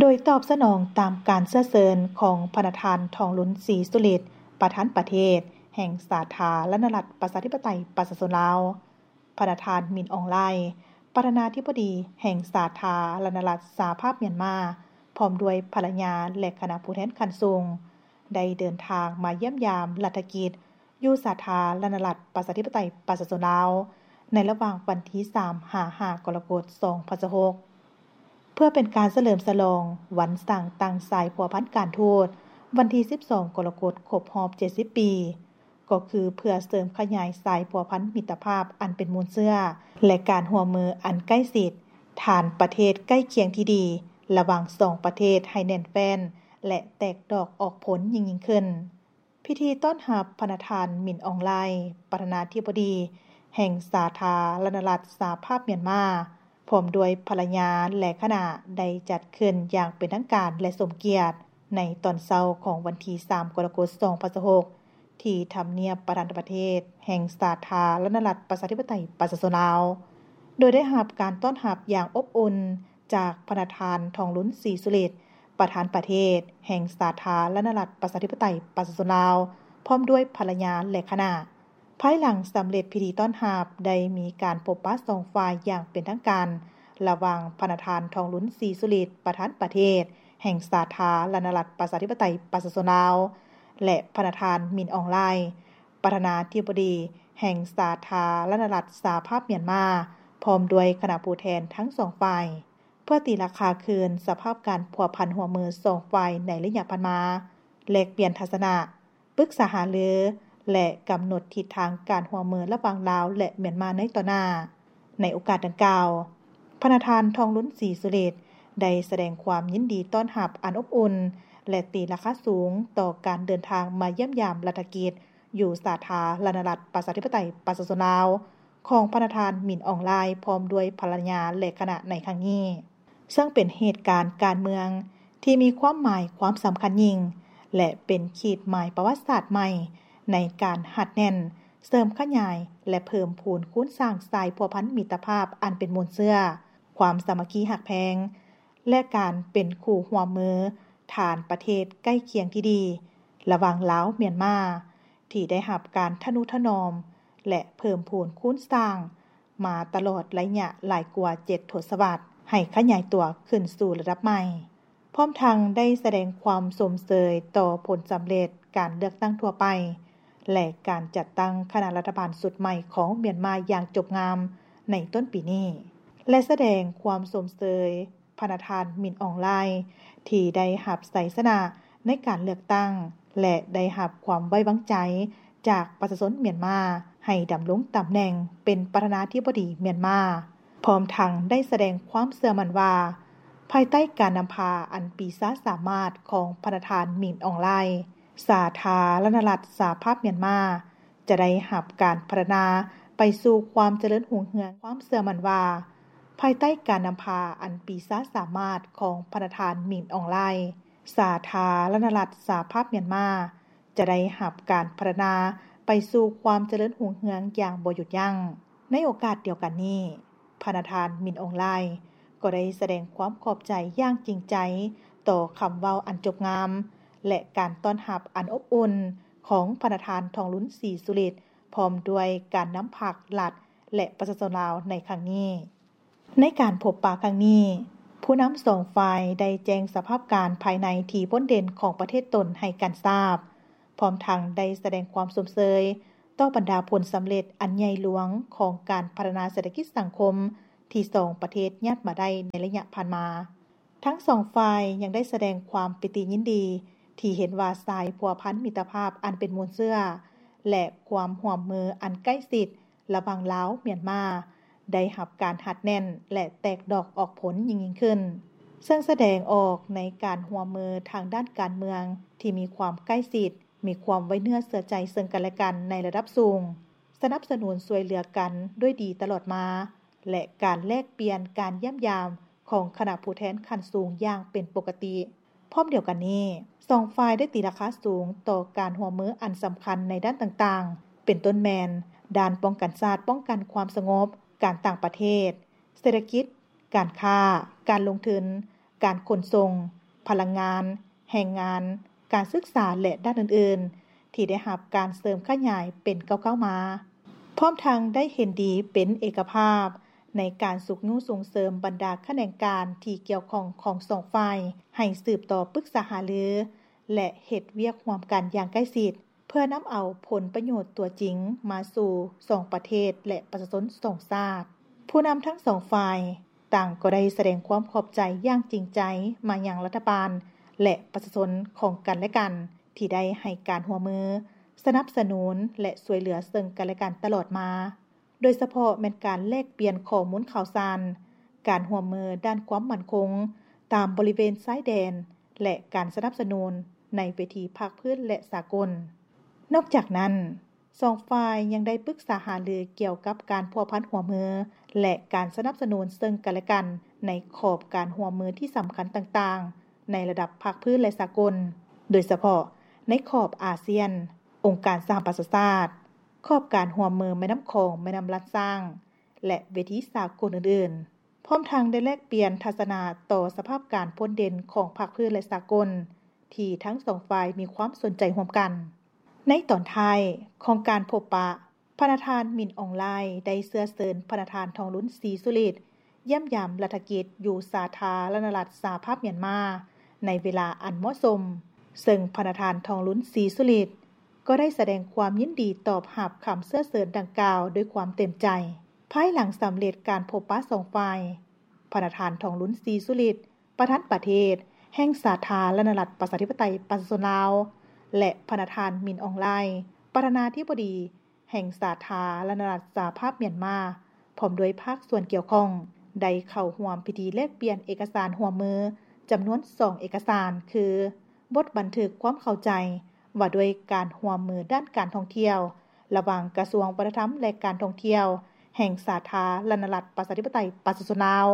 ໂດຍຕອບສະໜອງຕາມການເຊື້ອເຊີນຂອງພະນະທ່ານ ທອງລຸນ ສີສຸລິດ ປະທານປະເທດແຫ່ງສາທາລະນະລັດ ປະຊາທິປະໄຕ ປະຊາຊົນລາວ, ພະນະທ່ານ ມິນ ອອງ ລາຍ ປະທານາທິບໍດີແຫ່ງສາທາລະນະລັດ ສະຫະພາບມຽນມາ ພ້ອມດ້ວຍພັນລະຍາ ແລະ ຄະນະຜູ້ແທນຂັ້ນສູງ ໄດ້ເດີນທາງມາຢ້ຽມຢາມລັດຖະກິດ ຢູ່ສາທາລະນະລັດ ປະຊາທິປະໄຕ ປະຊາຊົນລາວ ໃນລະຫວ່າງວັນທີສາມຫາຫ້າ ກໍລະກົດ ສອງພັນຊາວຫົກ ເພື່ອເປັນການສະເຫຼີມສະຫຼອງວັນສ້າງຕັ້ງສາຍພົວພັນການທູດ ວັນທີສິບສອງ ກໍລະກົດ ຄົບຮອບເຈັດສິບປີ, ກໍຄືເພື່ອເສີມຂະຫຍາຍສາຍພົວພັນມິດຕະພາບອັນເປັນມູນເຊື້ອ ແລະ ການຮ່ວມມືອັນໃກ້ຊິດ ຖານປະເທດໃກ້ຄຽງທີ່ດີ ລະຫວ່າງສອງປະເທດໃຫ້ແໜ້ນແຟ້ນ ແລະ ແຕກດອກອອກຜົນຍິ່ງໆຂຶ້ນ. ພິທີຕ້ອນຮັບພະນະທ່ານ ມິນ ອອງ ລາຍ ປະທານາທິບໍດີແຫ່ງສາທາລະນະລັດ ສະຫະພາບມຽນມາ ພ້ອມດ້ວຍພັນລະຍາ ແລະ ຄະນະ ໄດ້ຈັດຂຶ້ນຢ່າງເປັນທາງການ ແລະ ສົມກຽດ ໃນຕອນເຊົ້າຂອງວັນທີສາມ ກໍລະກົດ ສອງພັນຊາວຫົກ ທີ່ທຳນຽບປະທານາທິປະເທດແຫ່ງສາທາລະນະລັດ ປະຊາທິປະໄຕ ປະຊາຊົນລາວ, ໂດຍໄດ້ຮັບການຕ້ອນຮັບຢ່າງອົບອຸ່ນ ຈາກພະນະທ່ານ ທອງລຸນ ສີສຸລິດ ປະທານປະເທດແຫ່ງສາທາລະນະລັດ ປະຊາທິປະໄຕ ປະຊາຊົນລາວ ພ້ອມດ້ວຍພັນລະຍາ ແລະ ຄະນະ. ພາຍຫຼັງສຳເລັດພິທີຕ້ອນຮັບ, ໄດ້ມີການພົບປະສອງຝ່າຍຢ່າງເປັນທາງການ ລະຫວ່າງພະນະທ່ານ ທອງລຸນ ສີສຸລິດ ປະທານປະເທດແຫ່ງສາທາລະນະລັດ ປະຊາທິປະໄຕ ປະຊາຊົນລາວ ແລະ ພະນະທ່ານ ມິນ ອອງ ລາຍ ປະທານາທິບໍດີແຫ່ງສາທາລະນະລັດ ສະຫະພາບມຽນມາ ພ້ອມດ້ວຍຄະນະຜູ້ແທນທັງສອງຝ່າຍ ເພື່ອຕີລາຄາຄືນສະພາບການພົວພັນຮ່ວມມືສອງຝ່າຍໃນໄລຍະຜ່ານມາ, ແລກປ່ຽນທັດສະນະ, ປຶກສາຫາລື ແລະ ກຳນົດທິດທາງການຮ່ວມມືລະຫວ່າງລາວ ແລະ ມຽນມາໃນຕໍ່ໜ້າ. ໃນໂອກາດດັ່ງກ່າວ, ພະນະທ່ານ ທອງລຸນ ສີສຸລິດ ໄດ້ສະແດງຄວາມຍິນດີຕ້ອນຮັບອັນອົບອຸ່ນ ແລະ ຕີລາຄາສູງຕໍ່ການເດີນທາງມາຢ້ຽມຢາມລັດຖະກິດ ຢູ່ສາທາລະນະລັດ ປະຊາທິປະໄຕ ປະຊາຊົນລາວ ຂອງພະນະທ່ານ ມິນ ອອງ ລາຍ ພ້ອມດ້ວຍພັນລະຍາ ແລະ ຄະນະໃນຄັ້ງນີ້, ເຊິ່ງເປັນເຫດການການເມືອງທີ່ມີຄວາມໝາຍຄວາມສຳຄັນຍິ່ງ ແລະ ເປັນຂີດໝາຍປະຫວັດສາດໃໝ່ໃນການຮັດແໜ້ນ, ເສີມຂະຫຍາຍ ແລະ ເພີ່ມພູນຄູນສ້າງສາຍພົວພັນມິດຕະພາບອັນເປັນມູນເຊື້ອ, ຄວາມສາມັກຄີຮັກແພງ ແລະ ການເປັນຄູ່ຮ່ວມມືຖານປະເທດໃກ້ຄຽງທີ່ດີ ລະຫວ່າງລາວ-ມຽນມາ ທີ່ໄດ້ຮັບການທະນຸຖະໜອມ ແລະ ເພີ່ມພູນຄູນສ້າງມາຕະຫຼອດໄລຍະຫຼາຍກວ່າເຈັດທົດສະວັດ ໃຫ້ຂະຫຍາຍຕົວຂຶ້ນສູ່ລະດັບໃໝ່, ພ້ອມທັງໄດ້ສະແດງຄວາມຊົມເຊີຍຕໍ່ຜົນສຳເລັດການເລືອກຕັ້ງທົ່ວໄປ ແລະ ການຈັດຕັ້ງຄະນະລັດຖະບານຊຸດໃໝ່ຂອງມຽນມາຢ່າງຈົບງາມໃນຕົ້ນປີນີ້ ແລະ ສະແດງຄວາມຊົມເຊີຍ ພະນະທ່ານ ມິນ ອອງ ລາຍ ທີ່ໄດ້ຮັບໄຊຊະນະໃນການເລືອກຕັ້ງ ແລະ ໄດ້ຮັບຄວາມໄວ້ວາງໃຈຈາກປະຊາຊົນມຽນມາ ໃຫ້ດຳລົງຕຳແໜ່ງເປັນປະທານາທິບໍດີມຽນມາ, ພ້ອມທັງໄດ້ສະແດງຄວາມເຊື່ອໝັ້ນວ່າ ພາຍໃຕ້ການນຳພາອັນປີຊາສາມາດຂອງພະນະທ່ານ ມິນ ອອງ ລາຍ, ສາທາລະນະລັດສະຫະພາບມຽນມາ ຈະໄດ້ຮັບການພັດທະນາໄປສູ່ຄວາມຈະເລີນຮຸ່ງເຮືອງ. ຄວາມເຊື່ອໝັ້ນວ່າ ພາຍໃຕ້ການນຳພາອັນປີຊາສາມາດຂອງພະນະທ່ານ ມິນ ອອງ ລາຍ, ສາທາລະນະລັດສະຫະພາບມຽນມາ ຈະໄດ້ຮັບການພັດທະນາໄປສູ່ຄວາມຈະເລີນຮຸ່ງເຮືອງຢ່າງບໍ່ຢຸດຢັ້ງ. ໃນໂອກາດດຽວກັນນີ້, ພະນະທ່ານ ມິນ ອອງ ລາຍ ກໍໄດ້ສະແດງຄວາມຂອບໃຈຢ່າງຈິງໃຈຕໍ່ຄຳເວົ້າອັນຈົບງາມ ແລະ ການຕ້ອນຮັບອັນອົບອຸ່ນຂອງພະນະທ່ານ ທອງລຸນ ສີສຸລິດ ພ້ອມດ້ວຍການນຳພັກລັດ ແລະ ປະຊາຊົນລາວໃນຄັ້ງນີ້. ໃນການພົບປະຄັ້ງນີ້, ຜູ້ນຳສອງຝ່າຍໄດ້ແຈ້ງສະພາບການພາຍໃນທີ່ໂດດເດັ່ນຂອງປະເທດຕົນໃຫ້ກັນຊາບ, ພ້ອມທັງໄດ້ສະແດງຄວາມຊົມເຊີຍຕໍ່ບັນດາຜົນສຳເລັດອັນໃຫຍ່ຫຼວງຂອງການພັດທະນາເສດຖະກິດສັງຄົມທີ່ສອງປະເທດຍາດມາໄດ້ໃນໄລຍະຜ່ານມາ. ທັງສອງຝ່າຍຍັງໄດ້ສະແດງຄວາມປີຕິຍິນດີທີ່ເຫັນວ່າສາຍພົວພັນມິດຕະພາບອັນເປັນມູນເຊື້ອ ແລະ ຄວາມຮ່ວມມືອັນໃກ້ຊິດລະຫວ່າງລາວ-ມຽນມາ ໄດ້ຮັບການຮັດແໜ້ນ ແລະ ແຕກດອກອອກຜົນຍິ່ງໆຂຶ້ນ, ເຊິ່ງສະແດງອອກໃນການຮ່ວມມືທາງດ້ານການເມືອງທີ່ມີຄວາມໃກ້ຊິດ, ມີຄວາມໄວ້ເນື້ອເຊື່ອໃຈເຊິ່ງກັນແລະກັນໃນລະດັບສູງ, ສະໜັບສະໜູນຊ່ວຍເຫຼືອກັນດ້ວຍດີຕະຫຼອດມາ ແລະ ການແລກປ່ຽນການຢ້ຽມຢາມຂອງຄະນະຜູ້ແທນຂັ້ນສູງຢ່າງເປັນປົກກະຕິ. ພ້ອມດຽວກັນນີ້, ສອງຝ່າຍໄດ້ຕີລາຄາສູງຕໍ່ການຮ່ວມມືອັນສຳຄັນໃນດ້ານຕ່າງໆ, ເປັນຕົ້ນແມ່ນ ດ້ານປ້ອງກັນຊາດ, ປ້ອງກັນຄວາມສະຫງົບ, ການຕ່າງປະເທດ, ເສດຖະກິດ, ການຄ້າ, ການລົງທຶນ, ການຂົນສົ່ງ, ພະລັງງານ, ແຮງງານ, ການສຶກສາ ແລະ ດ້ານອື່ນໆ ທີ່ໄດ້ຮັບການເສີມຂະຫຍາຍເປັນກ້າວໆມາ, ພ້ອມທັງໄດ້ເຫັນດີເປັນເອກະພາບໃນການຊຸກຍູ້ສົ່ງເສີມບັນດາຂະແໜງການທີ່ກ່ຽວຂ້ອງຂອງສອງຝ່າຍ ໃຫ້ສືບຕໍ່ປຶກສາຫາລື ແລະ ເຮັດວຽກຮ່ວມກັນຢ່າງໃກ້ຊິດ ເພື່ອນຳເອົາຜົນປະໂຫຍດຕົວຈິງມາສູ່ສອງປະເທດ ແລະ ປະຊາຊົນສອງຊາດ. ຜູ້ນຳທັງສອງຝ່າຍຕ່າງກໍໄດ້ສະແດງຄວາມຂອບໃຈຢ່າງຈິງໃຈມາຍັງລັດຖະບານ ແລະ ປະຊາຊົນຂອງກັນແລະກັນ ທີ່ໄດ້ໃຫ້ການຮ່ວມມື, ສະໜັບສະໜູນ ແລະ ຊ່ວຍເຫຼືອເຊິ່ງກັນແລະກັນຕະຫຼອດມາ. ໂດຍສະເພາະແມ່ນການແລກປ່ຽນຂໍ້ມູນຂ່າວສານ, ການຮ່ວມມືດ້ານຄວາມໝັ້ນຄົງຕາມບໍລິເວນຊາຍແດນ ແລະ ການສະໜັບສະໜູນໃນເວທີພາກພື້ນ ແລະ ສາກົນ. ນອກຈາກນັ້ນ, ສອງຝ່າຍຍັງໄດ້ປຶກສາຫາລືກ່ຽວກັບການພົວພັນຮ່ວມມື ແລະ ການສະໜັບສະໜູນເຊິ່ງກັນແລະກັນໃນຂອບການຮ່ວມມືທີ່ສຳຄັນຕ່າງໆ ໃນລະດັບພາກພື້ນ ແລະ ສາກົນ, ໂດຍສະເພາະໃນຂອບອາຊຽນ, ອົງການສະຫະປະຊາຊາດ, ຂອບການຮ່ວມມືແມ່ນ້ຳຂອງ, ແມ່ນ້ຳລານຊ້າງ ແລະ ເວທີສາກົນອື່ນໆ, ພ້ອມທັງໄດ້ແລກປ່ຽນທັດສະນະຕໍ່ສະພາບການພົ້ນເດັ່ນຂອງພາກພື້ນ ແລະ ສາກົນ ທີ່ທັງສອງຝ່າຍມີຄວາມສົນໃຈຮ່ວມກັນ. ໃນຕອນທ້າຍຂອງການພົບປະ, ພະນະທ່ານ ມິນ ອອງ ລາຍ ໄດ້ເຊື້ອເຊີນພະນະທ່ານ ທອງລຸນ ສີສຸລິດ ຢ້ຽມຢາມລັດຖະກິດຢູ່ສາທາລະນະລັດສະຫະພາບມຽນມາ ໃນເວລາອັນເໝາະສົມ, ເຊິ່ງພະນະທ່ານ ທອງລຸນ ສີສຸລິດ ກໍໄດ້ສະແດງຄວາມຍິນດີຕອບຮັບຄຳເຊື້ອເຊີນດັ່ງກ່າວດ້ວຍຄວາມເຕັມໃຈ. ພາຍຫຼັງສຳເລັດການພົບປະສອງຝ່າຍ, ພະນະທ່ານ ທອງລຸນ ສີສຸລິດ ປະທານປະເທດແຫ່ງສາທາລະນະລັດປະຊາທິປະໄຕປະຊາຊົນລາວ ແລະ ພະນະທ່ານ ມິນ ອອງ ລາຍ ປະທານາທິບໍດີແຫ່ງສາທາລະນະລັດສະຫະພາບມຽນມາ ພ້ອມດ້ວຍພາກສ່ວນກ່ຽວຂ້ອງ ໄດ້ເຂົ້າຮ່ວມພິທີແລກປ່ຽນເອກະສານຮ່ວມມືຈຳນວນສອງເອກະສານ ຄື ບົດບັນທຶກຄວາມເຂົ້າໃຈວ່າດ້ວຍການຮ່ວມມືດ້ານການທ່ອງທ່ຽວ ລະຫວ່າງກະຊວງວັດທະນະທຳ ແລະ ການທ່ອງທ່ຽວ ແຫ່ງສາທາລະນະລັດປະຊາທິປະໄຕປະຊາຊົນລາວ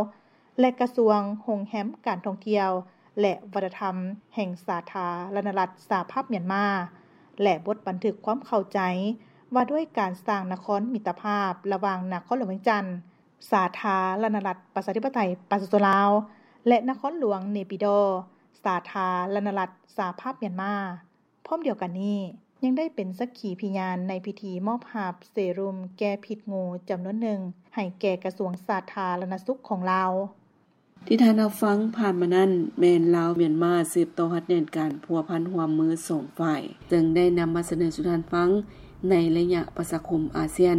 ແລະ ກະຊວງໂຮງແຮມ ການທ່ອງທ່ຽວ ແລະ ວັດທະນະທຳ ແຫ່ງສາທາລະນະລັດສະຫະພາບມຽນມາ ແລະ ບົດບັນທຶກຄວາມເຂົ້າໃຈວ່າດ້ວຍການສ້າງນະຄອນມິດຕະພາບລະຫວ່າງນະຄອນຫຼວງວຽງຈັນ ສາທາລະນະລັດປະຊາທິປະໄຕປະຊາຊົນລາວ ແລະ ນະຄອນຫຼວງເນປີດໍ ສາທາລະນະລັດສະຫະພາບມຽນມາ. ພ້ອມດຽວກັນນີ້, ຍັງໄດ້ເປັນສັກຂີພິຍານໃນພິທີມອບຮັບເຊຣູມແກ້ພິດງູຈຳນວນໜຶ່ງ ໃຫ້ແກ່ກະຊວງສາທາລະນະສຸກຂອງລາວ. ທີ່ທ່ານຮັບຟັງຜ່ານມານັ້ນ ແມ່ນລາວ-ມຽນມາສືບຕໍ່ຮັດແໜ້ນການພົວພັນຮ່ວມມືສອງຝ່າຍ, ເຊິ່ງໄດ້ນຳມາສະເໜີສູ່ທ່ານຟັງໃນໄລຍະປະຊາຄົມອາຊຽນ.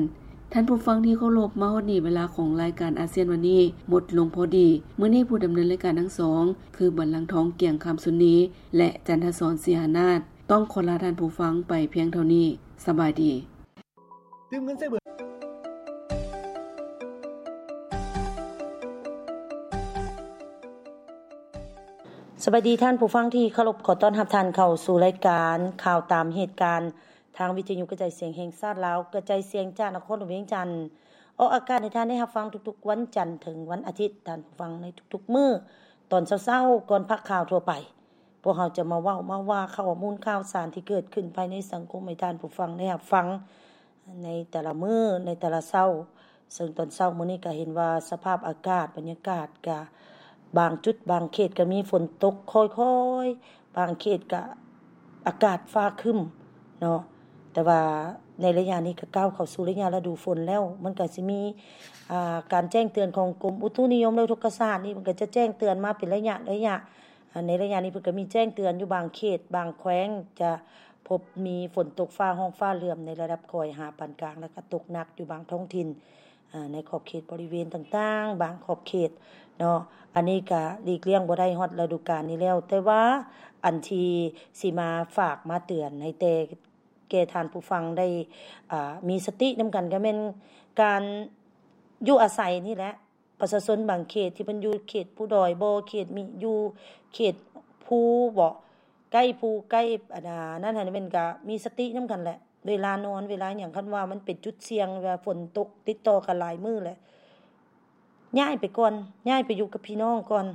ທ່ານຜູ້ຟັງທີ່ເຄົາລົບ, ມາຮອດນີ້ເວລາຂອງລາຍການອາຊຽນວັນນີ້ໝົດລົງພໍດີ. ມື້ນີ້ຜູ້ດຳເນີນລາຍການທັງສອງ ຄື ບັນລັງທອງ ກຽງຄຳຊຸນນີ ແລະ ຈັນທະສອນ ສີຫານາດ ຕ້ອງຂໍລາທ່ານຜູ້ຟັງໄປພຽງເທົ່ານີ້. ສະບາຍດີ. ຕື່ມເງິນໃສ່ເບີ. ສະບາຍດີທ່ານຜູ້ຟັງທີ່ເຄົາລົບ, ຂໍຕ້ອນຮັບທ່ານເຂົ້າສູ່ລາຍການຂ່າວຕາມເຫດການ ທາງວິທະຍຸກະຈາຍສຽງແຫ່ງຊາດລາວ, ກະຈາຍສຽງຈາກນະຄອນຫຼວງວຽງຈັນ, ອອກອາກາດໃຫ້ທ່ານໄດ້ຮັບຟັງທຸກໆວັນຈັນເຖິງວັນອາທິດ, ທ່ານຜູ້ຟັງໃນທຸກໆມື້ ຕອນເຊົ້າໆ ກ່ອນພາກຂ່າວທົ່ວໄປ. ພວກເຮົາຈະມາເວົ້າມາວ່າຂໍ້ມູນຂ່າວສານທີ່ເກີດຂຶ້ນພາຍໃນສັງຄົມໃຫ້ທ່ານຜູ້ຟັງໄດ້ຮັບຟັງໃນແຕ່ລະມື້, ໃນແຕ່ລະເຊົ້າ. ເຊິ່ງຕອນເຊົ້າມື້ນີ້ກະເຫັນວ່າສະພາບອາກາດ, ບັນຍາກາດກະບາງຈຸດບາງເຂດກະມີຝົນຕົກຄ່ອຍໆ, ບາງເຂດກະອາກາດຟ້າຄຶ້ມເນາະ. ແຕ່ວ່າໃນໄລຍະນີ້ກະກ້າວເຂົ້າສູ່ໄລຍະລະດູຝົນແລ້ວ, ມັນກະຊິມີ ອ່າ ການແຈ້ງເຕືອນຂອງກົມອຸຕຸນິຍົມ ແລະ ອຸທົກກະສາດນີ້ ເພິ່ນກໍຈະແຈ້ງເຕືອນມາເປັນໄລຍະໄລຍະ. ອ່າ ໃນໄລຍະນີ້ເພິ່ນກໍມີແຈ້ງເຕືອນຢູ່ບາງເຂດບາງແຂວງ ຈະພົບມີຝົນຕົກຟ້າຮ້ອງຟ້າເຫຼື້ອມໃນລະດັບຄ່ອຍຫາປານກາງ ແລະ ກໍຕົກໜັກຢູ່ບາງທ້ອງຖິ່ນ ອ່າ ໃນຂອບເຂດບໍລິເວນຕ່າງໆ ບາງຂອບເຂດເນາະ. ອັນນີ້ກໍຫຼີກລ່ຽງບໍ່ໄດ້ ຮອດລະດູການນີ້ແລ້ວ, ແຕ່ວ່າອັນທີ່ຊິມາຝາກມາເຕືອນໃຫ້ແຕ່ ແກ່ທ່ານຜູ້ຟັງໄດ້ ອ່າ ມີສະຕິນຳກັນ ກໍແມ່ນການຢູ່ອາໄສນີ້ແຫຼະ. ປະຊາຊົນບາງເຂດທີ່ເພິ່ນຢູ່ເຂດພູດອຍບໍ ເຂດມີ ຢູ່ເຂດພູບໍ ໃກ້ພູໃກ້ ອັນນັ້ນຫັ້ນ ແມ່ນກະມີສະຕິນຳກັນແຫຼະ ເວລານອນ ເວລາຫຍັງ. ຄັນວ່າມັນເປັນຈຸດສ່ຽງ ເວລາຝົນຕົກຕິດຕໍ່ກັນຫຼາຍມື້ແຫຼະ ຍ້າຍໄປກ່ອນ ຍ້າຍໄປຢູ່ກັບພີ່ນ້ອງກ່ອນ.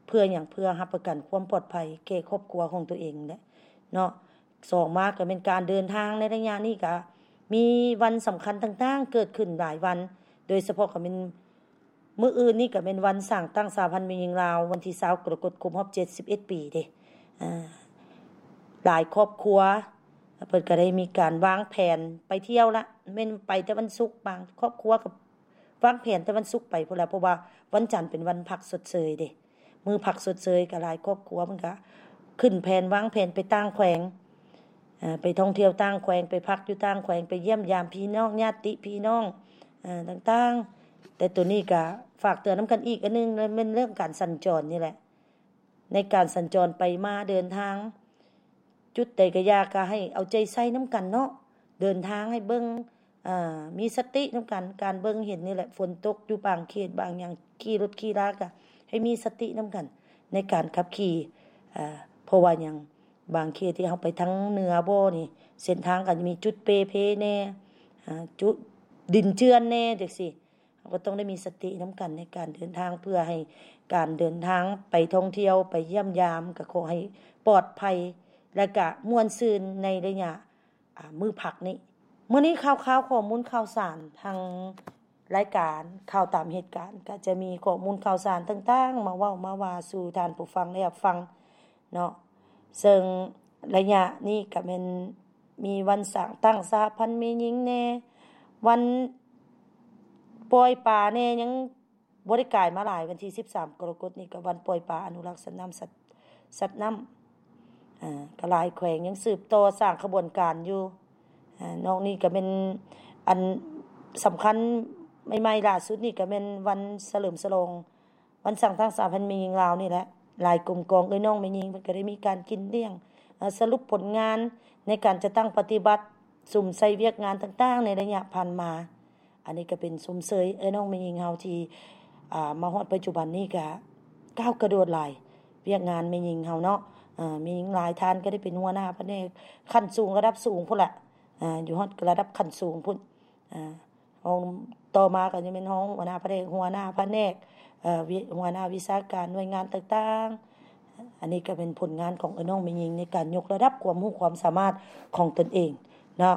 ເພື່ອຫຍັງ? ເພື່ອຮັບປະກັນຄວາມປອດໄພແກ່ຄອບຄົວຂອງຕົວເອງແຫຼະເນາະ. ສອງມາກໍແມ່ນການເດີນທາງໃນໄລຍະນີ້ ກໍມີວັນສຳຄັນຕ່າງໆເກີດຂຶ້ນຫຼາຍວັນ, ໂດຍສະເພາະກໍແມ່ນ ມື້ອື່ນນີ້ກໍແມ່ນວັນສ້າງຕັ້ງສະຫະພັນແມ່ຍິງລາວ ວັນທີຊາວ ກໍລະກົດ ຄົບຮອບເຈັດສິບເອັດປີເດ້. ອາ ຫຼາຍຄອບຄົວເພິ່ນກໍໄດ້ມີການວາງແຜນໄປທ່ຽວລະ, ແມ່ນໄປແຕ່ວັນສຸກ, ບາງຄອບຄົວກໍວາງແຜນແຕ່ວັນສຸກໄປພຸ້ນລະ ເພາະວ່າວັນຈັນເປັນວັນພັກຊົດເຊີຍເດ້. ມື້ພັກຊົດເຊີຍກໍຫຼາຍຄອບຄົວເພິ່ນກໍຂຶ້ນແຜນວາງແຜນໄປຕ່າງແຂວງ, ເອີ ໄປທ່ອງທ່ຽວຕ່າງແຂວງ, ໄປພັກຢູ່ຕ່າງແຂວງ, ໄປຢ້ຽມຢາມພີ່ນ້ອງ, ຍາດຕິພີ່ນ້ອງ, ເອີ ຕ່າງໆ. ແຕ່ໂຕນີ້ກໍຝາກເຕືອນນຳກັນອີກອັນໜຶ່ງ ແມ່ນເລື່ອງການສັນຈອນນີ້ແຫຼະ. ໃນການສັນຈອນໄປມາເດີນທາງ ຈຸດໃດກໍຢ່າ ກໍໃຫ້ເອົາໃຈໃສ່ນຳກັນເນາະ, ເດີນທາງໃຫ້ເບິ່ງ ເອີ ມີສະຕິນຳກັນ. ການເບິ່ງເຫັນນີ້ແຫຼະ, ຝົນຕົກຢູ່ບາງເຂດບາງຫຍັງ ຂີ່ລົດຂີ່ລາກໍໃຫ້ມີສະຕິນຳກັນໃນການຂັບຂີ່, ເອີ ເພາະວ່າຫຍັງ ບາງເຂດທີ່ເຮົາໄປທາງເໜືອບໍ່ນີ້ ເສັ້ນທາງກໍຈະມີຈຸດເປ່ເພແດ່, ເອີ ຈຸດດິນເຈື່ອນແດ່ ຈັ່ງຊີ້. ເຮົາກໍຕ້ອງໄດ້ມີສະຕິນຳກັນໃນການເດີນທາງ ເພື່ອໃຫ້ການເດີນທາງໄປທ່ອງທ່ຽວ ໄປຢ້ຽມຢາມ ກໍຂໍໃຫ້ປອດໄພ ແລະ ກະມ່ວນຊື່ນໃນໄລຍະ ອາ ມື້ພັກນີ້. ມື້ນີ້ຂ່າວຄາວຂໍ້ມູນຂ່າວສານ ທາງລາຍການຂ່າວຕາມເຫດການ ກໍຈະມີຂໍ້ມູນຂ່າວສານຕ່າງໆ ມາເວົ້າມາວ່າສູ່ທ່ານຜູ້ຟັງໄດ້ຮັບຟັງເນາະ. ເຊິ່ງໄລຍະນີ້ກໍແມ່ນ ມີວັນສ້າງຕັ້ງສະຫະພັນແມ່ຍິງແດ່, ວັນປ່ອຍປາແດ່, ຍັງບໍ່ໄດ້ກາຍມາຫຼາຍ. ວັນທີສິບສາມ ກໍລະກົດນີ້ກໍວັນປ່ອຍປາ ອະນຸລັກສັດນ້ຳ ສັດ ສັດນ້ຳ, ອາ ກໍຫຼາຍແຂວງຍັງສືບຕໍ່ສ້າງຂະບວນການຢູ່. ອາ ນອກນີ້ກໍແມ່ນອັນສຳຄັນໃໝ່ໆ ຫຼ້າສຸດນີ້ກໍແມ່ນວັນສະເຫຼີມສະຫຼອງ ວັນສ້າງຕັ້ງສະຫະພັນແມ່ຍິງລາວນີ້ແຫຼະ, ຫຼາຍກົມກອງເອື້ອຍນ້ອງແມ່ຍິງ ເພິ່ນກໍໄດ້ມີການກິນລ້ຽງ, ສະຫຼຸບຜົນງານໃນການຈັດຕັ້ງປະຕິບັດ, ສຸມໃສ່ວຽກງານຕ່າງໆໃນໄລຍະຜ່ານມາ. ອັນນີ້ກໍເປັນຊົມເຊີຍເອື້ອຍນ້ອງແມ່ຍິງເຮົາທີ່ ອາ ມາຮອດປັດຈຸບັນນີ້ກໍກ້າວກະໂດດຫຼາຍ, ວຽກງານແມ່ຍິງເຮົາເນາະ, ອາ ແມ່ຍິງຫຼາຍທ່ານກໍໄດ້ເປັນຫົວໜ້າພະແນກຂັ້ນສູງ ລະດັບສູງພຸ້ນລະ, ອາ ຢູ່ຮອດລະດັບຂັ້ນສູງພຸ້ນ, ອາ ຮອງ ຕໍ່ມາກໍຈະແມ່ນຮອງຫົວໜ້າພະແນກ, ຫົວໜ້າພະແນກ, ເອີ ວິ ຫົວໜ້າວິຊາການໜ່ວຍງານຕ່າງໆ. ອັນນີ້ກໍເປັນຜົນງານຂອງເອື້ອຍນ້ອງແມ່ຍິງໃນການຍົກລະດັບຄວາມຮູ້ຄວາມສາມາດຂອງຕົນເອງເນາະ.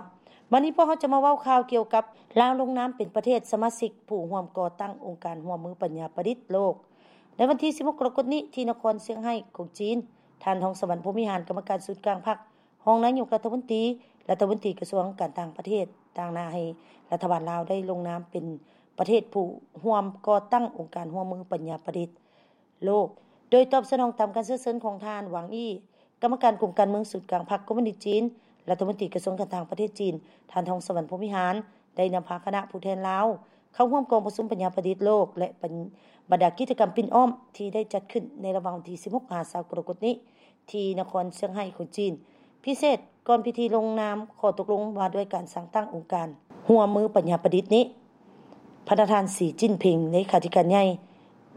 ບັດນີ້ພວກເຮົາຈະມາເວົ້າຂ່າວກ່ຽວກັບລາວລົງນາມເປັນປະເທດສະມາຊິກຜູ້ຮ່ວມກໍ່ຕັ້ງອົງການຮ່ວມມືປັນຍາປະດິດໂລກ ໃນວັນທີສິບຫົກ ກໍລະກົດນີ້ ທີ່ນະຄອນຊຽງໄຮ້ຂອງຈີນ. ທ່ານ ທອງສະຫວັນ ພົມວິຫານ ກຳມະການສູນກາງພັກ ຮອງນາຍົກລັດຖະມົນຕີ, ລັດຖະມົນຕີກະຊວງການຕ່າງປະເທດ ຕາງໜ້າໃຫ້ລັດຖະບານລາວໄດ້ລົງນາມເປັນປະເທດຜູ້ຮ່ວມກໍ່ຕັ້ງອົງການຮ່ວມມືປັນຍາປະດິດໂລກ, ໂດຍຕອບສະໜອງຕາມການເຊື້ອເຊີນຂອງທ່ານ ຫວັງ ອີ່ ກຳມະການກົມການເມືອງສູນກາງພັກຄອມມູນິດຈີນ, ລັດຖະມົນຕີກະຊວງການຕ່າງປະເທດຈີນ. ທ່ານ ທອງສະຫວັນ ພົມວິຫານ ໄດ້ນຳພາຄະນະຜູ້ແທນລາວເຂົ້າຮ່ວມກອງປະຊຸມປັນຍາປະດິດໂລກ ແລະ ບັນ ບັນດາກິດຈະກຳປິ່ນອ້ອມທີ່ໄດ້ຈັດຂຶ້ນໃນລະຫວ່າງວັນທີສິບຫົກ ຫາ ຊາວ ກໍລະກົດນີ້ ທີ່ນະຄອນຊຽງໄຮ້ຂອງຈີນ. ພິເສດ, ກ່ອນພິທີລົງນາມຂໍ້ຕົກລົງວ່າດ້ວຍການສ້າງຕັ້ງອົງການຮ່ວມມືປັນຍາປະດິດນີ້, ພະນະທ່ານ ສີ ຈິ້ນຜິງ ເລຂາທິການໃຫຍ່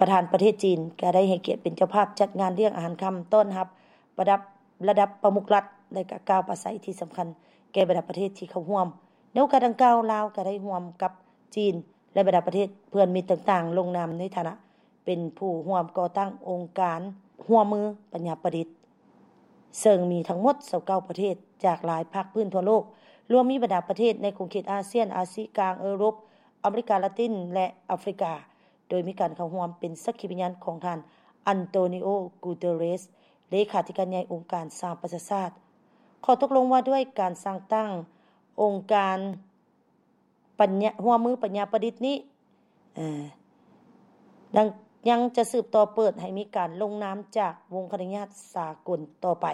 ປະທານປະເທດຈີນ ກໍໄດ້ໃຫ້ກຽດເປັນເຈົ້າພາບຈັດງານລ້ຽງອາຫານຄ່ຳຕ້ອນຮັບລະດັບ ລະດັບປະມຸກລັດ ແລະ ກໍກ່າວປາໄສທີ່ສຳຄັນແກ່ບັນດາປະເທດທີ່ເຂົ້າຮ່ວມ. ໃນໂອກາດດັ່ງກ່າວ, ລາວກໍໄດ້ຮ່ວມກັບຈີນ ແລະ ບັນດາປະເທດເພື່ອນມິດຕ່າງໆ ລົງນາມໃນຖານະ ເປັນຜູ້ຮ່ວມກໍ່ຕັ້ງອົງການຮ່ວມມືປັນຍາປະດິດ, ເຊິ່ງມີທັງໝົດຊາວເກົ້າປະເທດ ຈາກຫຼາຍພາກພື້ນທົ່ວໂລກ, ລວມມີບັນດາປະເທດໃນຂົງເຂດອາຊຽນ, ອາຊີກາງ, ເອີຣົບ, ອາເມລິກາລາຕິນ ແລະ ອາຟຣິກາ, ໂດຍມີການເຂົ້າຮ່ວມເປັນສັກຂີພະຍານຂອງທ່ານ ອັນໂຕນີໂອ ກູເຕີເຣສ ເລຂາທິການໃຫຍ່ອົງການສະຫະປະຊາຊາດ. ຂໍ້ຕົກລົງວ່າດ້ວຍການສ້າງຕັ້ງອົງການ ປັນຍາ ຮ່ວມມືປັນຍາປະດິດນີ້ ເອີ ຍັງ ຍັງຈະສືບຕໍ່ເປີດໃຫ້ມີການລົງນາມຈາກວົງຄະນະຍາດສາກົນຕໍ່ໄປ.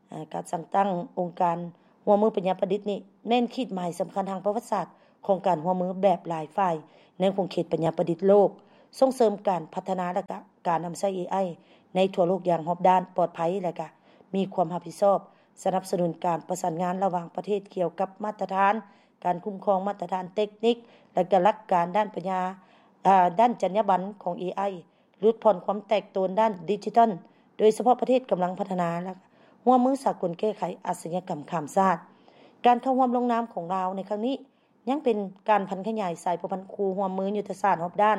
ເອີ ການສ້າງຕັ້ງອົງການຮ່ວມມືປັນຍາປະດິດນີ້ ແມ່ນຂີດໝາຍສຳຄັນທາງປະຫວັດສາດຂອງການຮ່ວມມືແບບຫຼາຍຝ່າຍໃນຂົງເຂດປັນຍາປະດິດໂລກ, ສົ່ງເສີມການພັດທະນາ ແລະ ກະ ການນຳໃຊ້ ເອໄອ ໃນທົ່ວໂລກຢ່າງຮອບດ້ານ, ປອດໄພ ແລະ ກະມີຄວາມຮັບຜິດຊອບ, ສະໜັບສະໜູນການປະສານງານລະຫວ່າງປະເທດກ່ຽວກັບມາດຕະຖານ ການຄຸ້ມຄອງມາດຕະຖານເຕັກນິກ ແລະ ກະຫຼັກການດ້ານປັນຍາ ເອີ ດ້ານຈັນຍາບັນຂອງ ເອໄອ, ຫຼຸດຜ່ອນຄວາມແຕກໂຕນດ້ານດິຈິຕອນ, ໂດຍສະເພາະປະເທດກຳລັງພັດທະນາ ແລະ ຮ່ວມມືສາກົນແກ້ໄຂອາຊະຍາກຳຂ້າມຊາດ. ການເຂົ້າຮ່ວມລົງນາມຂອງລາວໃນຄັ້ງນີ້ ຍັງເປັນການຜັນຂະຫຍາຍສາຍພົວພັນຄູ່ຮ່ວມມືຍຸດທະສາດຮອບດ້ານ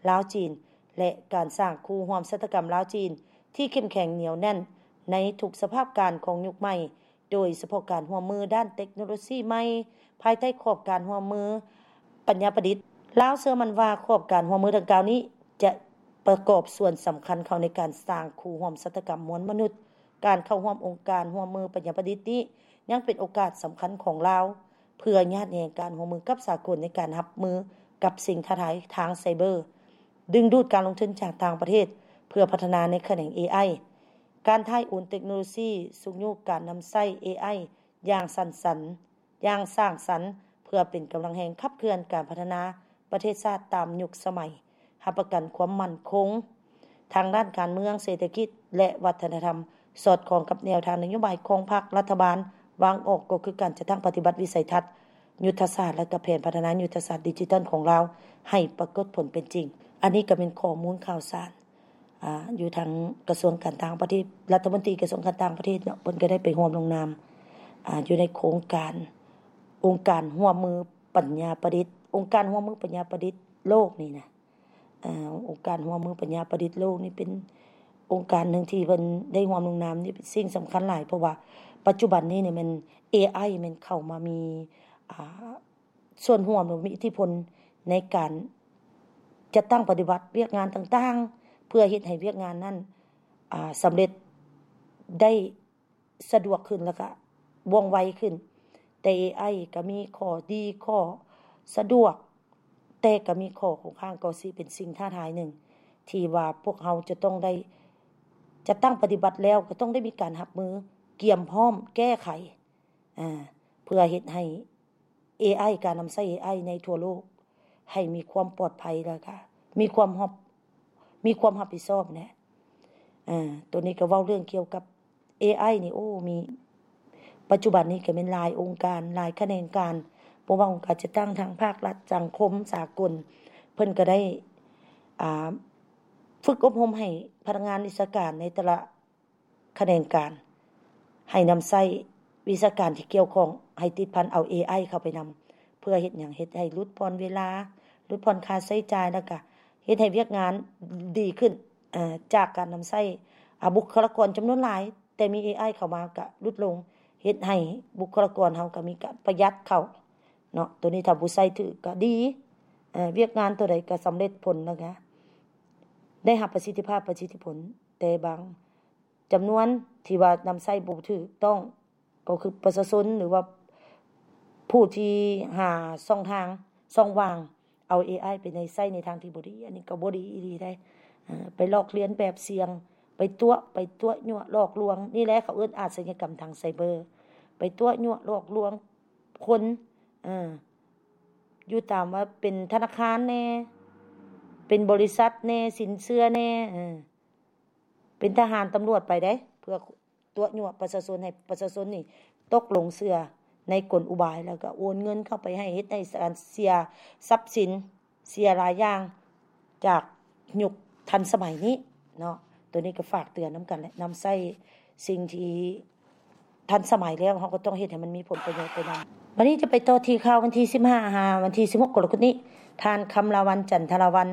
ລາວ-ຈີນ ແລະ ການສ້າງຄູ່ຮ່ວມຊະຕາກຳລາວ-ຈີນທີ່ເຂັ້ມແຂງໜຽວແໜ້ນໃນທຸກສະພາບການຂອງຍຸກໃໝ່, ໂດຍສະເພາະການຮ່ວມມືດ້ານເຕັກໂນໂລຊີໃໝ່ ພາຍໃຕ້ຂອບການຮ່ວມມືປັນຍາປະດິດ ລາວເຊື່ອໝັ້ນວ່າຂອບການຮ່ວມມືດັ່ງກ່າວນີ້ຈະປະກອບສ່ວນສຳຄັນເຂົ້າໃນການສ້າງຄູ່ຮ່ວມຊະຕາກຳມວນມະນຸດ. ການເຂົ້າຮ່ວມອົງການຮ່ວມມືປັນຍາປະດິດນີ້ຍັງເປັນໂອກາດສຳຄັນຂອງລາວ ເພື່ອຍາດແຮງການຮ່ວມມືກັບສາກົນໃນການຮັບມືກັບສິ່ງທ້າທາຍທາງໄຊເບີ, ດຶງດູດການລົງທຶນຈາກຕ່າງປະເທດເພື່ອພັດທະນາໃນຂະແໜງ ເອໄອ, ການຖ່າຍໂອນເຕັກໂນໂລຊີ, ຊຸກຍູ້ການນຳໃຊ້ ເອໄອ ຢ່າງສັນສັນ ຢ່າງສ້າງສັນ ເພື່ອເປັນກຳລັງແຮງຂັບເຄື່ອນການພັດທະນາປະເທດຊາດຕາມຍຸກສະໄໝ, ຮັບປະກັນຄວາມໝັ້ນຄົງທາງດ້ານການເມືອງ, ເສດຖະກິດ ແລະ ວັດທະນະທຳ, ສອດຄ່ອງກັບແນວທາງນະໂຍບາຍຂອງພັກລັດຖະບານວາງອອກ, ກໍຄືການຈັດຕັ້ງປະຕິບັດວິໄສທັດຍຸດທະສາດ ແລະ ກະແຜນພັດທະນາຍຸດທະສາດດິຈິຕອນຂອງລາວໃຫ້ປາກົດຜົນເປັນຈິງ. ອັນນີ້ກໍເປັນຂໍ້ມູນຂ່າວສານ ອ່າ ຢູ່ທາງກະຊວງການຕ່າງປະເທດ, ລັດຖະມົນຕີກະຊວງການຕ່າງປະເທດເນາະ, ເພິ່ນກໍໄດ້ໄປຮ່ວມລົງນາມ ອ່າ ຢູ່ໃນໂຄງການອົງການຮ່ວມມືປັນຍາປະດິດ, ອົງການຮ່ວມມືປັນຍາປະດິດໂລກນີ້ນະ. ເອີ ອົງການຮ່ວມມືປັນຍາປະດິດໂລກນີ້ເປັນອົງການໜຶ່ງທີ່ເພິ່ນໄດ້ຮ່ວມລົງນາມ, ນີ້ເປັນສິ່ງສຳຄັນຫຼາຍ, ເພາະວ່າປັດຈຸບັນນີ້ນີ້ແມ່ນ ເອໄອ ແມ່ນເຂົ້າມາມີ ອ່າ ສ່ວນຮ່ວມ ຫຼື ມີອິດທິພົນໃນການຈັດຕັ້ງປະຕິບັດວຽກງານຕ່າງໆ ເພື່ອເຮັດໃຫ້ວຽກງານນັ້ນ ອ່າ ສຳເລັດໄດ້ສະດວກຂຶ້ນ ແລ້ວກະວ່ອງໄວຂຶ້ນ. ແຕ່ ເອໄອ ກະມີຂໍ້ດີ ຂໍ້ສະດວກ, ແຕ່ກະມີຂໍ້ຄົງຄ້າງ, ກໍຊິເປັນສິ່ງທ້າທາຍໜຶ່ງ ທີ່ວ່າພວກເຮົາຈະຕ້ອງໄດ້ຈັດຕັ້ງປະຕິບັດແລ້ວ ກໍຕ້ອງໄດ້ມີການຮັບມື, ກຽມພ້ອມແກ້ໄຂ ອ່າ ເພື່ອເຮັດໃຫ້ ເອໄອ ການນຳໃຊ້ ເອໄອ ໃນທົ່ວໂລກໃຫ້ມີຄວາມປອດໄພ ແລ້ວກະມີຄວາມຮັບ ມີຄວາມຮັບຜິດຊອບແຫຼະ. ເອີ ໂຕນີ້ກໍເວົ້າເລື່ອງກ່ຽວກັບ ເອໄອ ນີ້ ໂອ້ ມີ ປັດຈຸບັນນີ້ກໍແມ່ນຫຼາຍອົງການ ຫຼາຍຂະແໜງການ, ບໍ່ວ່າອົງການຈັດຕັ້ງທາງພາກລັດ, ສັງຄົມສາກົນ ເພິ່ນກໍໄດ້ ອ່າ ຝຶກອົບຮົມໃຫ້ພະນັກງານວິຊາການໃນແຕ່ລະ ຂະແໜງການ ໃຫ້ນຳໃຊ້ວິຊາການທີ່ກ່ຽວຂ້ອງ ໃຫ້ຕິດພັນເອົາ ເອໄອ ເຂົ້າໄປນຳ. ເພື່ອເຮັດຫຍັງ? ເຮັດໃຫ້ຫຼຸດຜ່ອນເວລາ, ຫຼຸດຜ່ອນຄ່າໃຊ້ຈ່າຍ, ແລ້ວກະເຮັດໃຫ້ວຽກງານດີຂຶ້ນ ເອີ ຈາກການນຳໃຊ້ ອາ ບຸກຄະລາກອນຈຳນວນຫຼາຍ, ແຕ່ມີ ເອໄອ ເຂົ້າມາກະຫຼຸດລົງ, ເຮັດໃຫ້ບຸກຄະລາກອນເຮົາກະມີການປະຢັດເຂົ້າເນາະ. ໂຕນີ້ຖ້າຜູ້ໃຊ້ຖືກກະດີ, ເອີ ວຽກງານໂຕໃດກະສຳເລັດຜົນ ແລ້ວກະໄດ້ຮັບປະສິດທິພາບ, ປະສິດທິຜົນ. ແຕ່ບາງ ຈຳນວນທີ່ວ່ານຳໃຊ້ບໍ່ຖືກຕ້ອງ ກໍຄືປະຊາຊົນ ຫຼືວ່າຜູ້ທີ່ຫາຊ່ອງທາງ ຊ່ອງວ່າງ ເອົາ ເອໄອ ໄປໃນ ໃຊ້ໃນທາງທີ່ບໍ່ດີ, ອັນນີ້ກໍບໍ່ດີອີ່ຫຼີໃດ. ເອີ ໄປລອກລຽນແບບສ່ຽງ, ໄປຕົວະ ໄປຕົວະຍົວະຫຼອກລວງ, ນີ້ແຫຼະເຂົາເອີ້ນອາດຊະຍາກຳທາງໄຊເບີ, ໄປຕົວະຍົວະຫຼອກລວງຄົນ ເອີ ຢູ່ຕາມວ່າເປັນທະນາຄານແດ່, ເປັນບໍລິສັດແດ່, ສິນເຊື່ອແດ່, ເອີ ເປັນທະຫານຕຳຫຼວດໄປເດ້ ເພື່ອຕົວະຍົວະປະຊາຊົນ ໃຫ້ປະຊາຊົນນີ້ຕົກຫຼົງເຊື່ອໃນກົນອຸບາຍ ແລ້ວກໍໂອນເງິນເຂົ້າໄປໃຫ້ ເຮັດໃຫ້ການເສຍຊັບສິນ ເສຍຫຼາຍຢ່າງຈາກຍຸກທັນສະໄໝນີ້ເນາະ. ໂຕນີ້ກໍຝາກເຕືອນນຳກັນແຫຼະ, ນຳໃຊ້ສິ່ງທີ່ ທັນສະໄໝແລ້ວ ເຮົາກໍຕ້ອງເຮັດໃຫ້ມັນມີຜົນປະໂຫຍດໄປນຳ. ບັດນີ້ຈະໄປຕໍ່ທີ່ຂ່າວວັນທີສິບຫ້າ ຫາວັນທີສິບຫົກ ກໍລະກົດນີ້, ທ່ານ ຄຳລາວັນ ຈັນທະລາວັນ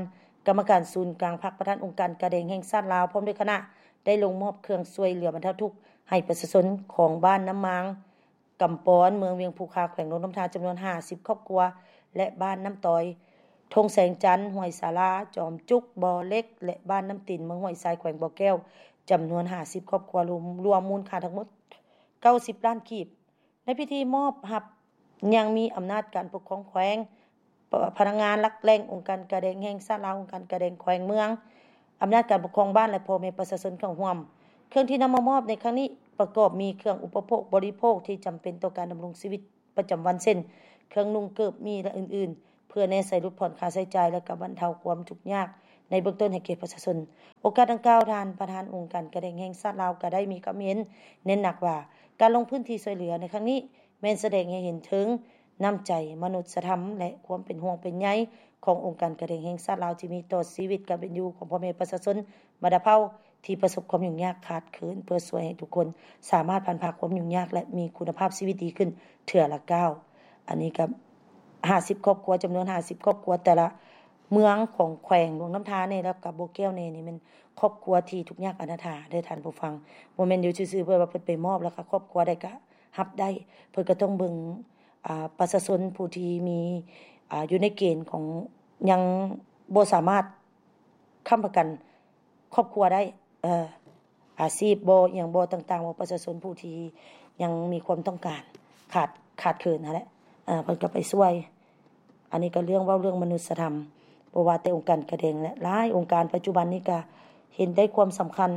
ກຳມະການສູນກາງພັກ ປະທານອົງການກາແດງແຫ່ງຊາດລາວ ພ້ອມດ້ວຍຄະນະ ໄດ້ລົງມອບເຄື່ອງຊ່ວຍເຫຼືອບັນເທົາທຸກໃຫ້ປະຊາຊົນຂອງບ້ານນ້ຳມາງ ກຳປອນ ເມືອງວຽງພູຄາ ແຂວງຫຼວງນ້ຳທາ ຈຳນວນຫ້າສິບຄອບຄົວ ແລະ ບ້ານນ້ຳຕອຍ ທົ່ງແສງຈັນ ຫ້ວຍສາລາ ຈອມຈຸກ ບໍ່ເຫຼັກ ແລະ ບ້ານນ້ຳຕິນ ເມືອງຫ້ວຍຊາຍ ແຂວງບໍ່ແກ້ວ ຈຳນວນຫ້າສິບຄອບຄົວ ລວມ ລວມມູນຄ່າທັງໝົດເກົ້າສິບລ້ານກີບ. ໃນພິທີມອບຮັບ ຍັງມີອຳນາດການປົກຄອງແຂວງ, ພະ ພະນັກງານຫຼັກແຫຼ່ງ ອົງການກາແດງແຫ່ງຊາດລາວ, ອົງການກາແດງແຂວງເມືອງ, ອຳນາດການປົກຄອງບ້ານ ແລະ ພໍ່ແມ່ປະຊາຊົນເຂົ້າຮ່ວມ. ເຄື່ອງທີ່ນຳມາມອບໃນຄັ້ງນີ້ ປະກອບມີເຄື່ອງອຸປະໂພກບໍລິໂພກທີ່ຈຳເປັນຕໍ່ການດຳລົງຊີວິດປະຈຳວັນ ເຊັ່ນ ເຄື່ອງນຸ່ງເກີບໝີ່ ແລະ ອື່ນໆ ເພື່ອແນໃສ່ຫຼຸດຜ່ອນຄ່າໃຊ້ຈ່າຍ ແລະ ກະບັນເທົາຄວາມທຸກຍາກໃນເບື້ອງຕົ້ນໃຫ້ແກ່ປະຊາຊົນ. ໂອກາດດັ່ງກ່າວ, ທ່ານປະທານອົງການກາແດງແຫ່ງຊາດລາວ ກໍໄດ້ມີຄຳເຫັນເນັ້ນໜັກວ່າ ການລົງພື້ນທີ່ຊ່ວຍເຫຼືອໃນຄັ້ງນີ້ ແມ່ນສະແດງໃຫ້ເຫັນເຖິງນ້ຳໃຈມະນຸດສະທຳ ແລະ ຄວາມເປັນຫ່ວງເປັນໃຍຂອງອົງການກາແດງແຫ່ງຊາດລາວ ທີ່ມີຕໍ່ຊີວິດການເປັນຢູ່ຂອງພໍ່ແມ່ປະຊາຊົນບັນດາເຜົ່າ ທີ່ປະສົບຄວາມຫຍຸ້ງຍາກຂາດເຂີນ ເພື່ອຊ່ວຍໃຫ້ທຸກຄົນສາມາດຜ່ານຜ່າຄວາມຫຍຸ້ງຍາກ ແລະ ມີຄຸນນະພາບຊີວິດດີຂຶ້ນເທື່ອລະກ້າວ. ອັນນີ້ກໍຫ້າສິບຄອບຄົວ, ຈຳນວນຫ້າສິບຄອບຄົວ ແຕ່ລະເມືອງຂອງແຂວງຫຼວງນ້ຳທາແດ່ ແລ້ວກໍບໍ່ແກ້ວແດ່ ນີ້ແມ່ນຄອບຄົວທີ່ທຸກຍາກອະນາຖາເດີທ່ານຜູ້ຟັງ. ບໍ່ແມ່ນຢູ່ຊື່ໆ ເພື່ອວ່າເພິ່ນໄປມອບ ແລ້ວກໍຄອບຄົວໃດກໍຮັບໄດ້. ເພິ່ນກໍຕ້ອງເບິ່ງ ອ່າ ປະຊາຊົນຜູ້ທີ່ມີ ອ່າ ຢູ່ໃນເກນຂອງ ຍັງບໍ່ສາມາດຄ້ຳປະກັນຄອບຄົວໄດ້ ເອີ ອາຊີບບໍ່ ອີ່ຫຍັງບໍ່ ຕ່າງໆ ບໍ່ ປະຊາຊົນຜູ້ທີ່ຍັງມີຄວາມຕ້ອງການ ຂາດ ຂາດເຂີນຫັ້ນແຫຼະ ເອີ ເພິ່ນກໍໄປຊ່ວຍ. ອັນນີ້ກໍເລື່ອງ ເວົ້າເລື່ອງມະນຸດສະທຳ ບໍ່ວ່າແຕ່ອົງການກາແດງ ແລະ ຫຼາຍອົງການປັດຈຸບັນນີ້ກໍເຫັນໄດ້ຄວາມສຳຄັນ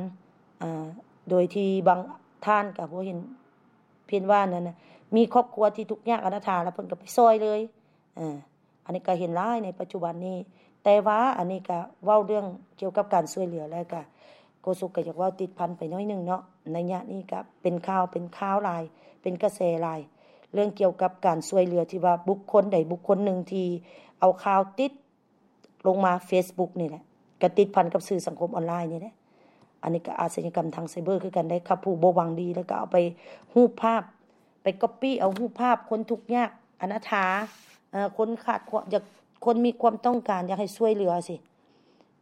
ເອີ ໂດຍທີ່ບາງທ່ານກໍບໍ່ເຫັນ ເພິ່ນວ່ານັ້ນນະ ມີຄອບຄົວທີ່ທຸກຍາກອະນາຖາ ແລ້ວເພິ່ນກໍໄປຊ່ອຍເລີຍ ເອີ ອັນນີ້ກໍເຫັນຫຼາຍໃນປັດຈຸບັນນີ້ ແຕ່ວ່າອັນນີ້ກໍເວົ້າເລື່ອງກ່ຽວກັບການຊ່ວຍເຫຼືອ ແລ້ວກໍໂຄສົກກໍຢາກເວົ້າຕິດພັນໄປໜ້ອຍໜຶ່ງເນາະ ໄລຍະນີ້ກໍເປັນຂ່າວ ເປັນຂ່າວຫຼາຍ ເປັນກະແສຫຼາຍ ເລື່ອງກ່ຽວກັບການຊ່ວຍເຫຼືອທີ່ວ່າບຸກຄົນໃດບຸກຄົນໜຶ່ງທີ່ເອົາຂ່າວຕິດ ລົງມາເຟສບຸກນີ້ແຫຼະ ກະຕິດພັນກັບສື່ສັງຄົມອອນລາຍນີ້ແຫຼະ. ອັນນີ້ກະອາຊະຍາກຳທາງໄຊເບີຄືກັນໄດ໋ ຄັບຜູ້ບໍ່ຫວັງດີ ແລ້ວກະເອົາໄປ ຮູບພາບ ໄປກັອບປີ້ເອົາຮູບພາບຄົນທຸກຍາກອະນາຖາ ເອີ ຄົນຂາດຄວາມ ຢາກ ຄົນມີຄວາມຕ້ອງການ ຢາກໃຫ້ຊ່ວຍເຫຼືອຊີ້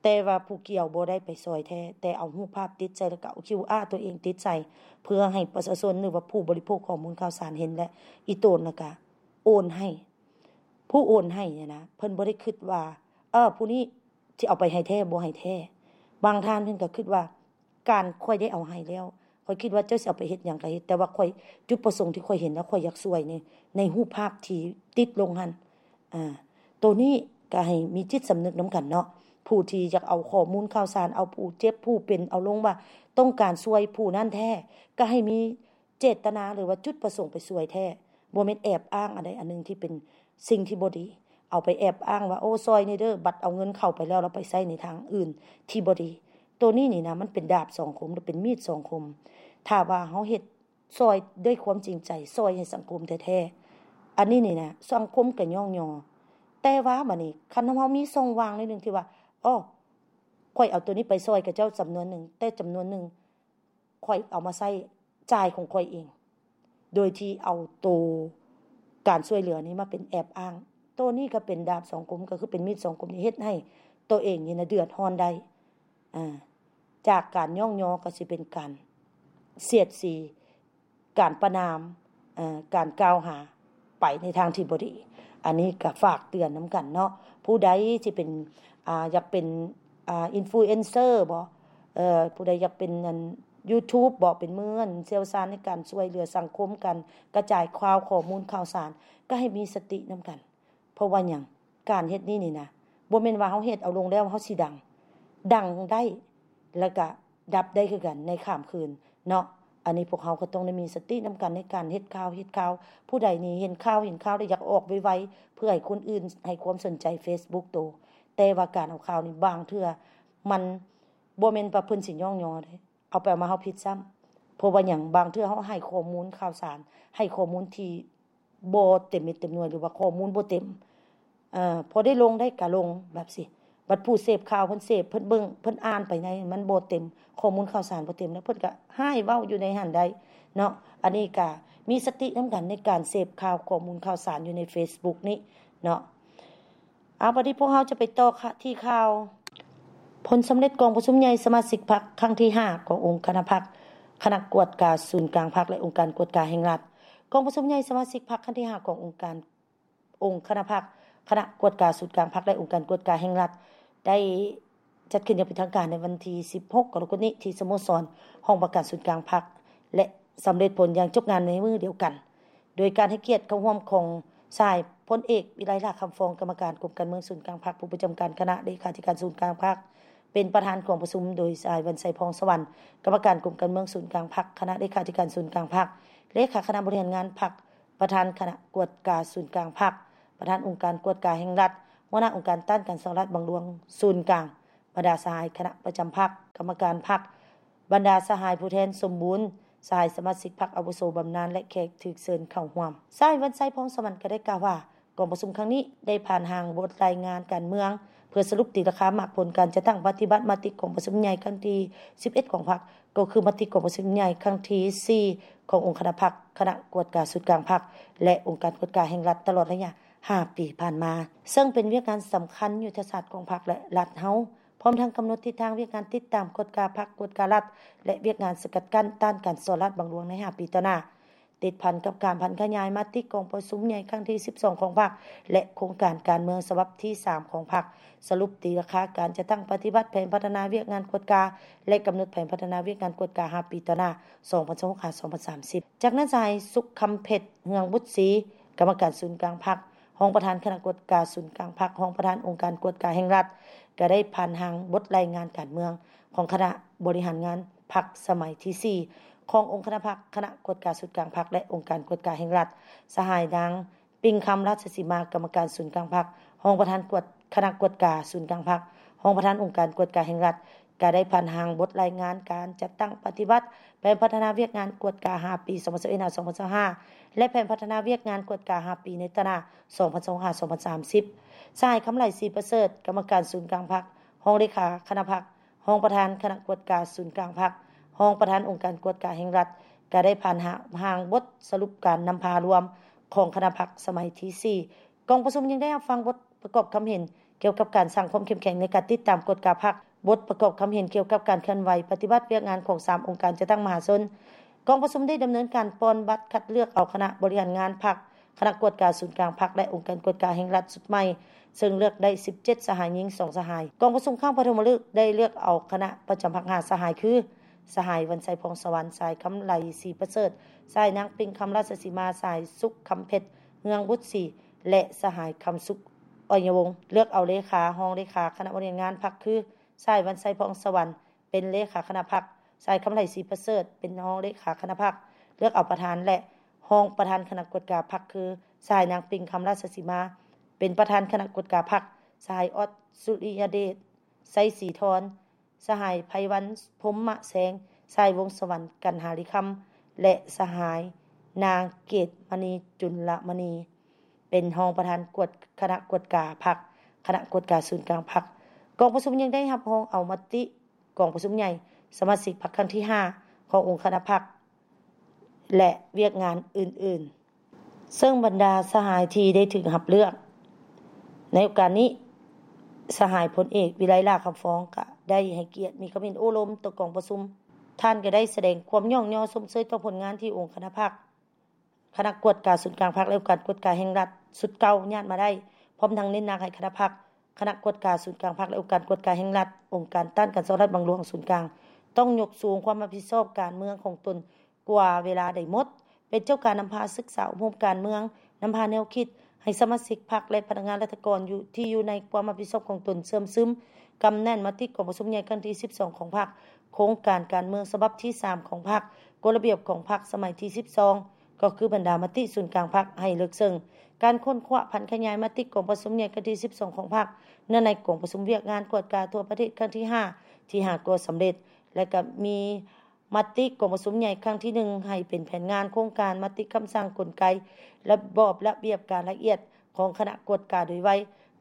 ແຕ່ວ່າຜູ້ກ່ຽວບໍ່ໄດ້ໄປຊ່ອຍແທ້ ແຕ່ເອົາຮູບພາບຕິດໃສ່ ແລ້ວກະເອົາຄິວອາຕົວເອງຕິດໃສ່ ເພື່ອໃຫ້ປະຊາຊົນ ຫຼືວ່າຜູ້ບໍລິໂພກຂໍ້ມູນຂ່າວສານເຫັນ ແລະ ອີ່ຕົນ ແລ້ວກະໂອນໃຫ້ ຜູ້ໂອນໃຫ້ຫັ້ນນະ ເພິ່ນບໍ່ໄດ້ຄິດວ່າ ເອີ ຜູ້ນີ້ຊິເອົາໄປໃຫ້ແທ້ບໍ່ໃຫ້ແທ້. ບາງທ່ານເພິ່ນກໍຄິດວ່າ ການຂ້ອຍໄດ້ເອົາໃຫ້ແລ້ວ ຂ້ອຍຄິດວ່າເຈົ້າຊິເອົາໄປເຮັດຫຍັງກໍເຮັດ ແຕ່ວ່າຂ້ອຍ ຈຸດປະສົງທີ່ຂ້ອຍເຫັນ ແລ້ວຂ້ອຍຢາກຊ່ວຍໃນ ໃນຮູບພາບທີ່ຕິດລົງຫັ້ນ. ອາ ໂຕນີ້ກໍໃຫ້ມີຈິດສຳນຶກນຳກັນເນາະ ຜູ້ທີ່ຢາກເອົາຂໍ້ມູນຂ່າວສານ ເອົາຜູ້ເຈັບຜູ້ເປັນເອົາລົງວ່າ ຕ້ອງການຊ່ວຍຜູ້ນັ້ນແທ້ ກໍໃຫ້ມີ ເຈດຕະນາ ຫຼືວ່າຈຸດປະສົງໄປຊ່ວຍແທ້ ບໍ່ແມ່ນແອບອ້າງອັນໃດອັນໜຶ່ງທີ່ເປັນສິ່ງທີ່ບໍ່ດີ ເອົາໄປແອບອ້າງວ່າ ໂອ້ ຊ່ອຍແດ່ເດີ ບັດເອົາເງິນເຂົາໄປແລ້ວ ແລ້ວໄປໃຊ້ໃນທາງອື່ນທີ່ບໍ່ດີ. ໂຕນີ້ນີ້ນະ ມັນເປັນດາບສອງຄົມ ຫຼືເປັນມີດສອງຄົມ. ຖ້າວ່າເຮົາເຮັດຊ່ອຍດ້ວຍຄວາມຈິງໃຈ ຊ່ອຍໃຫ້ສັງຄົມແທ້ໆ ອັນນີ້ນີ້ນະ ສັງຄົມກໍຍ້ອງຍໍ. ແຕ່ວ່າບາດນີ້ ຄັນເຮົາມີຊ່ອງວ່າງໜ້ອຍໜຶ່ງທີ່ວ່າ ອໍ ຂ້ອຍເອົາໂຕນີ້ໄປຊ່ອຍຂະເຈົ້າຈຳນວນໜຶ່ງ ແຕ່ຈຳນວນໜຶ່ງ ຂ້ອຍເອົາມາໃຊ້ຈ່າຍຂອງຂ້ອຍເອງ ໂດຍທີ່ເອົາໂຕການຊ່ວຍເຫຼືອນີ້ມາເປັນແອບອ້າງ. ໂຕນີ້ກໍເປັນດາບສອງຄົມ ກໍຄືເປັນມີດສອງຄົມທີ່ເຮັດໃຫ້ໂຕເອງນີ້ນະເດືອດຮ້ອນໄດ້. ອາ ຈາກການຍ້ອງຍໍກໍຊິເປັນການສຽດສີ ການປະນາມ ເອີ ການກ່າວຫາໄປໃນທາງທີ່ບໍ່ດີ. ອັນນີ້ກໍຝາກເຕືອນນຳກັນເນາະ ຜູ້ໃດທີ່ເປັນ ອາ ຢາກເປັນ ອາ ອິນຟລູເອັນເຊີບໍ ເອີ ຜູ້ໃດຢາກເປັນອັນ YouTube ບໍ ເປັນມືອັນຊ່ຽວຊານໃນການຊ່ວຍເຫຼືອສັງຄົມ ການກະຈາຍຂ່າວ ຂໍ້ມູນຂ່າວສານ ກໍໃຫ້ມີສະຕິນຳກັນ. ເພາະວ່າຫຍັງ? ການເຮັດນີ້ນີ້ນະ ບໍ່ແມ່ນວ່າເຮົາເຮັດເອົາລົງແລ້ວເຮົາຊິດັງ ດັງໄດ້ ແລ້ວກະດັບໄດ້ຄືກັນໃນຂ້າມຄືນເນາະ. ອັນນີ້ພວກເຮົາກໍຕ້ອງໄດ້ມີສະຕິນຳກັນໃນການເຮັດຂ່າວ ເຮັດຂ່າວ ຜູ້ໃດນີ້ເຫັນຂ່າວ ເຫັນຂ່າວແລ້ວຢາກອອກໄວໆ ເພື່ອໃຫ້ຄົນອື່ນໃຫ້ຄວາມສົນໃຈເຟສບຸກໂຕ. ແຕ່ວ່າການເອົາຂ່າວນີ້ບາງເທື່ອມັນບໍ່ແມ່ນວ່າເພິ່ນຊິຍ້ອງຍໍເດ້ ເອົາໄປເອົາມາເຮົາຜິດຊ້ຳ. ເພາະວ່າຫຍັງ? ບາງເທື່ອເຮົາໃຫ້ຂໍ້ມູນຂ່າວສານ ໃຫ້ຂໍ້ມູນທີ່ ບໍ່ເຕັມເມັດເຕັມໜ່ວຍ ຫຼືວ່າຂໍ້ມູນບໍ່ເຕັມ ເອີ ພໍໄດ້ລົງໄດ້ກະລົງແບບຊີ້ ບັດຜູ້ເສບຂ່າວເພິ່ນເສບ ເພິ່ນເບິ່ງ ເພິ່ນອ່ານໄປໃນມັນບໍ່ເຕັມ ຂໍ້ມູນຂ່າວສານບໍ່ເຕັມ ແລ້ວເພິ່ນກະຮ້າຍເວົ້າຢູ່ໃນຫັ້ນໄດ້ເນາະ. ອັນນີ້ກະມີສະຕິນຳກັນໃນການເສບຂ່າວ ຂໍ້ມູນຂ່າວສານຢູ່ໃນເຟສບຸກນີ້ເນາະ. ເອົາ ບັດນີ້ພວກເຮົາຈະໄປຕໍ່ທີ່ຂ່າວ ຜົນສຳເລັດກອງປະຊຸມໃຫຍ່ສະມາຊິກພັກຄັ້ງທີຫ້າຂອງອົງຄະນະພັກ ຄະນະກວດກາສູນກາງພັກ ແລະ ອົງການກວດກາແຫ່ງລັດ. ກອງປະຊຸມໃຫຍ່ສະມາຊິກພັກຄັ້ງທີຫ້າຂອງອົງການ ອົງຄະນະພັກ ຄະນະກວດກາສູນກາງພັກ ແລະ ອົງການກວດກາແຫ່ງລັດ ໄດ້ຈັດຂຶ້ນຢ່າງເປັນທາງການໃນວັນທີສິບຫົກ ກໍລະກົດນີ້ ທີ່ສະໂມສອນຫ້ອງວ່າການສູນກາງພັກ ແລະ ສຳເລັດຜົນຢ່າງຈົບງາມໃນມື້ດຽວກັນ. ໂດຍການໃຫ້ກຽດເຂົ້າຮ່ວມຂອງສະຫາຍພົນເອກ ວິໄລ ຫຼ້າຄຳຟອງ ກຳມະການກົມການເມືອງສູນກາງພັກ ຜູ້ປະຈຳການຄະນະເລຂາທິການສູນກາງພັກ ເປັນປະທານກອງປະຊຸມ, ໂດຍສະຫາຍ ວັນໄຊ ພອງສະຫວັນ ກຳມະການກົມການເມືອງສູນກາງພັກ ຄະນະເລຂາທິການສູນກາງພັກ, ເລຂາຄະນະບໍລິຫານງານພັກ ປະທານຄະນະກວດກາສູນກາງພັກ, ປະທານອົງການກວດກາແຫ່ງລັດ, ຫົວໜ້າອົງການຕ້ານການສໍ້ລາດບັງຫຼວງສູນກາງ, ບັນດາສະຫາຍຄະນະປະຈຳພັກ, ກຳມະການພັກ, ບັນດາສະຫາຍຜູ້ແທນສົມບູນ, ສະຫາຍສະມາຊິກພັກອາວຸໂສບຳນານ ແລະ ແຂກຖືກເຊີນເຂົ້າຮ່ວມ. ສະຫາຍ ວັນໄຊ ພອງສະຫວັນ ກໍໄດ້ກ່າວວ່າ ກອງປະຊຸມຄັ້ງນີ້ໄດ້ຜ່ານຮ່າງບົດລາຍງານການເມືອງ ເພື່ອສະຫຼຸບຕີລາຄາໝາກຜົນການຈັດຕັ້ງປະຕິບັດມະຕິກອງປະຊຸມໃຫຍ່ຄັ້ງທີສິບເອັດຂອງພັກ, ກໍຄືມະຕິກອງປະຊຸມໃຫຍ່ຄັ້ງທີສີ່ຂອງອົງຄະນະພັກ, ຄະນະກວດກາສູນກາງພັກ ແລະ ອົງການກວດກາແຫ່ງລັດ ຕະຫຼອດໄລຍະຫ້າປີຜ່ານມາ, ເຊິ່ງເປັນວຽກງານສຳຄັນຍຸດທະສາດຂອງພັກ ແລະ ລັດເຮົາ, ພ້ອມທັງກຳນົດທິດທາງວຽກງານຕິດຕາມກວດກາພັກ, ກວດກາລັດ ແລະ ວຽກງານສະກັດກັ້ນຕ້ານການສໍ້ລາດບັງຫຼວງໃນຫ້າປີຕໍ່ໜ້າ. ເ ຕິດພັນກັບການຜັນຂະຫຍາຍມະຕິກອງປະຊຸມໃຫຍ່ຄັ້ງທີສິບສອງຂອງພັກ ແລະ ໂຄງການການເມືອງສະບັບທີສາມຂອງພັກ, ສະຫຼຸບຕີລາຄາການຈັດຕັ້ງປະຕິບັດແຜນພັດທະນາວຽກງານກວດກາ ແລະ ກຳນົດແຜນພັດທະນາວຽກງານກວດກາຫ້າປີຕໍ່ໜ້າ ສອງພັນຊາວຫົກ ຫາ ສອງພັນສາມສິບ. ຈາກນັ້ນ ສະຫາຍ ສຸກຄຳເພັດ ເຮືອງບຸດສີ ກຳມະການສູນກາງພັກ, ຮອງປະທານຄະນະກວດກາສູນກາງພັກ, ຮອງປະທານອົງການກວດກາແຫ່ງລັດ ກໍໄດ້ຜ່ານຮ່າງບົດລາຍງານການເມືອງຂອງຄະນະບໍລິຫານງານພັກສະໄໝທີສີ່ ຂອງອົງຄະນະພັກ, ຄະນະກວດກາສູນກາງພັກ ແລະ ອົງການກວດກາແຫ່ງລັດ. ສະຫາຍ ນາງ ປິງຄຳ ລາຊະສີມາ ກຳມະການສູນກາງພັກ, ຮອງປະທານກວດ ຄະນະກວດກາສູນກາງພັກ, ຮອງປະທານອົງການກວດກາແຫ່ງລັດ ກໍໄດ້ຜ່ານຮ່າງບົດລາຍງານການຈັດຕັ້ງປະຕິບັດແຜນພັດທະນາວຽກງານກວດກາຫ້າປີ ສອງພັນຊາວເອັດ ຫາ ສອງພັນຊາວຫ້າ ແລະ ແຜນພັດທະນາວຽກງານກວດກາຫ້າປີໃນຕະໜ້າ ສອງພັນຊາວຫ້າ ສອງພັນສາມສິບ. ສະຫາຍ ຄຳໄຫຼ ສີປະເສີດ ກຳມະການສູນກາງພັກ, ຮອງເລຂາຄະນະພັກ, ຮອງປະທານຄະນະກວດກາສູນກາງພັກ, ຮອງປະທານອົງການກວດກາແຫ່ງລັດ ກໍໄດ້ຜ່ານຮ່າງບົດສະຫຼຸບການນຳພາລວມຂອງຄະນະພັກສະໄໝທີສີ່. ກອງປະຊຸມຍັງໄດ້ຮັບຟັງບົດປະກອບຄຳເຫັນກ່ຽວກັບການສ້າງຄວາມເຂັ້ມແຂງໃນການຕິດຕາມກວດກາພັກ, ບົດປະກອບຄຳເຫັນກ່ຽວກັບການເຄື່ອນໄຫວປະຕິບັດວຽກງານຂອງສາມອົງການຈັດຕັ້ງມະຫາຊົນ. ກອງປະຊຸມໄດ້ດຳເນີນການປ່ອນບັດຄັດເລືອກເອົາຄະນະບໍລິຫານງານພັກ, ຄະນະກວດກາສູນກາງພັກ ແລະ ອົງການກວດກາແຫ່ງລັດຊຸດໃໝ່, ເຊິ່ງເລືອກໄດ້ສິບເຈັດສະຫາຍ, ຍິງສອງສະຫາຍ. ກອງປະຊຸມຄັ້ງປະຖົມມະລຶກໄດ້ເລືອກເອົາຄະນະປະຈຳພັກຫ້າສະຫາຍ ຄື ສະຫາຍ ວັນໄຊ ພອງສະຫວັນ, ສະຫາຍ ຄຳໄຫຼ ສີປະເສີດ, ສະຫາຍ ນາງ ປິງຄຳ ລາຊະສີມາ, ສະຫາຍ ສຸກຄຳເພັດ ເຮືອງບຸດສີ ແລະ ສະຫາຍ ຄຳສຸກ ອ້ອຍຍະວົງ. ເລືອກເອົາເລຂາ, ຮອງເລຂາຄະນະບໍລິຫານງານພັກ ຄື ສະຫາຍ ວັນໄຊ ພອງສະຫວັນ ເປັນເລຂາຄະນະພັກ, ສະຫາຍ ຄຳໄຫຼ ສີປະເສີດ ເປັນຮອງເລຂາຄະນະພັກ. ເລືອກເອົາປະທານ ແລະ ຮອງປະທານຄະນະກວດກາພັກ ຄື ສະຫາຍ ນາງ ປິງຄຳ ລາຊະສີມາ ເປັນປະທານຄະນະກວດກາພັກ, ສະຫາຍ ອອດ ສຸລິຍະເດດ ໄຊສີທອນ, ສະຫາຍ ໄພວັນ ພົມມະແສງ, ສະຫາຍ ວົງສະຫວັນ ກັນຫາລິຄຳ ແລະ ສະຫາຍ ນາງ ເກດມະນີ ຈຸນລະມະນີ ເປັນຮອງປະທານກວດ ຄະນະກວດກາພັກ, ຄະນະກວດກາສູນກາງພັກ. ກອງປະຊຸມຍັງໄດ້ຮັບຮອງເອົາມະຕິກອງປະຊຸມໃຫຍ່ສະມາຊິກພັກຄັ້ງທີຫ້າຂອງອົງຄະນະພັກ ແລະ ວຽກງານອື່ນໆ. ເຊິ່ງບັນດາສະຫາຍທີ່ໄດ້ຖືກຮັບເລືອກໃນໂອກາດນີ້, ສະຫາຍ ພົນເອກ ວິໄລ ຫຼ້າຄຳຟອງ ກະໄດ້ໃຫ້ກຽດມີຄຳເຫັນໂອ້ລົມຕໍ່ກອງປະຊຸມ. ທ່ານກະໄດ້ສະແດງຄວາມຍ້ອງຍໍຊົມເຊີຍຕໍ່ຜົນງານທີ່ອົງຄະນະພັກ, ຄະນະກວດກາສູນກາງພັກ ແລະ ອົງການກວດກາແຫ່ງລັດຊຸດເກົ່າຍາດມາໄດ້, ພ້ອມທັງເນັ້ນໜັກໃຫ້ຄະນະພັກ, ຄະນະກວດກາສູນກາງພັກ ແລະ ອົງການກວດກາແຫ່ງລັດ, ອົງການຕ້ານການສໍ້ລາດບັງຫຼວງສູນກາງ ຕ້ອງຍົກສູງຄວາມຮັບຜິດຊອບການເມືອງຂອງຕົນກວ່າເວລາໃດໝົດ, ເປັນເຈົ້າການນຳພາສຶກສາອົບຮົມການເມືອງ, ນຳພາແນວຄິດໃຫ້ສະມາຊິກພັກ ແລະ ພະນັກງານລັດຖະກອນຢູ່ ທີ່ຢູ່ໃນຄວາມຮັບຜິດຊອບຂອງຕົນເຊື່ອມຊຶມ, ກຳແໜ້ນມະຕິກອງປະຊຸມໃຫຍ່ຄັ້ງທີສິບສອງຂອງພັກ, ໂຄງການການເມືອງສະບັບທີສາມຂອງພັກ, ກົດລະບຽບຂອງພັກສະໄໝທີສິບສອງ ກໍຄືບັນດາມະຕິສູນກາງພັກໃຫ້ເລິກເຊິ່ງ. ການຄົ້ນຄວ້າຜັນຂະຫຍາຍມະຕິກອງປະຊຸມໃຫຍ່ຄັ້ງທີສິບສອງຂອງພັກ ເນື່ອງໃນກອງປະຊຸມວຽກງານກວດກາທົ່ວປະເທດຄັ້ງທີຫ້າ ທີ່ຫາກໍສຳເລັດ ແລະ ກໍມີມະຕິກອງປະຊຸມໃຫຍ່ຄັ້ງທີໜຶ່ງ ໃຫ້ເປັນແຜນງານ, ໂຄງການ, ມະຕິຄຳສັ່ງ, ກົນໄກ, ລະບອບລະບຽບການລະອຽດຂອງຄະນະກວດກາໂດຍໄວ,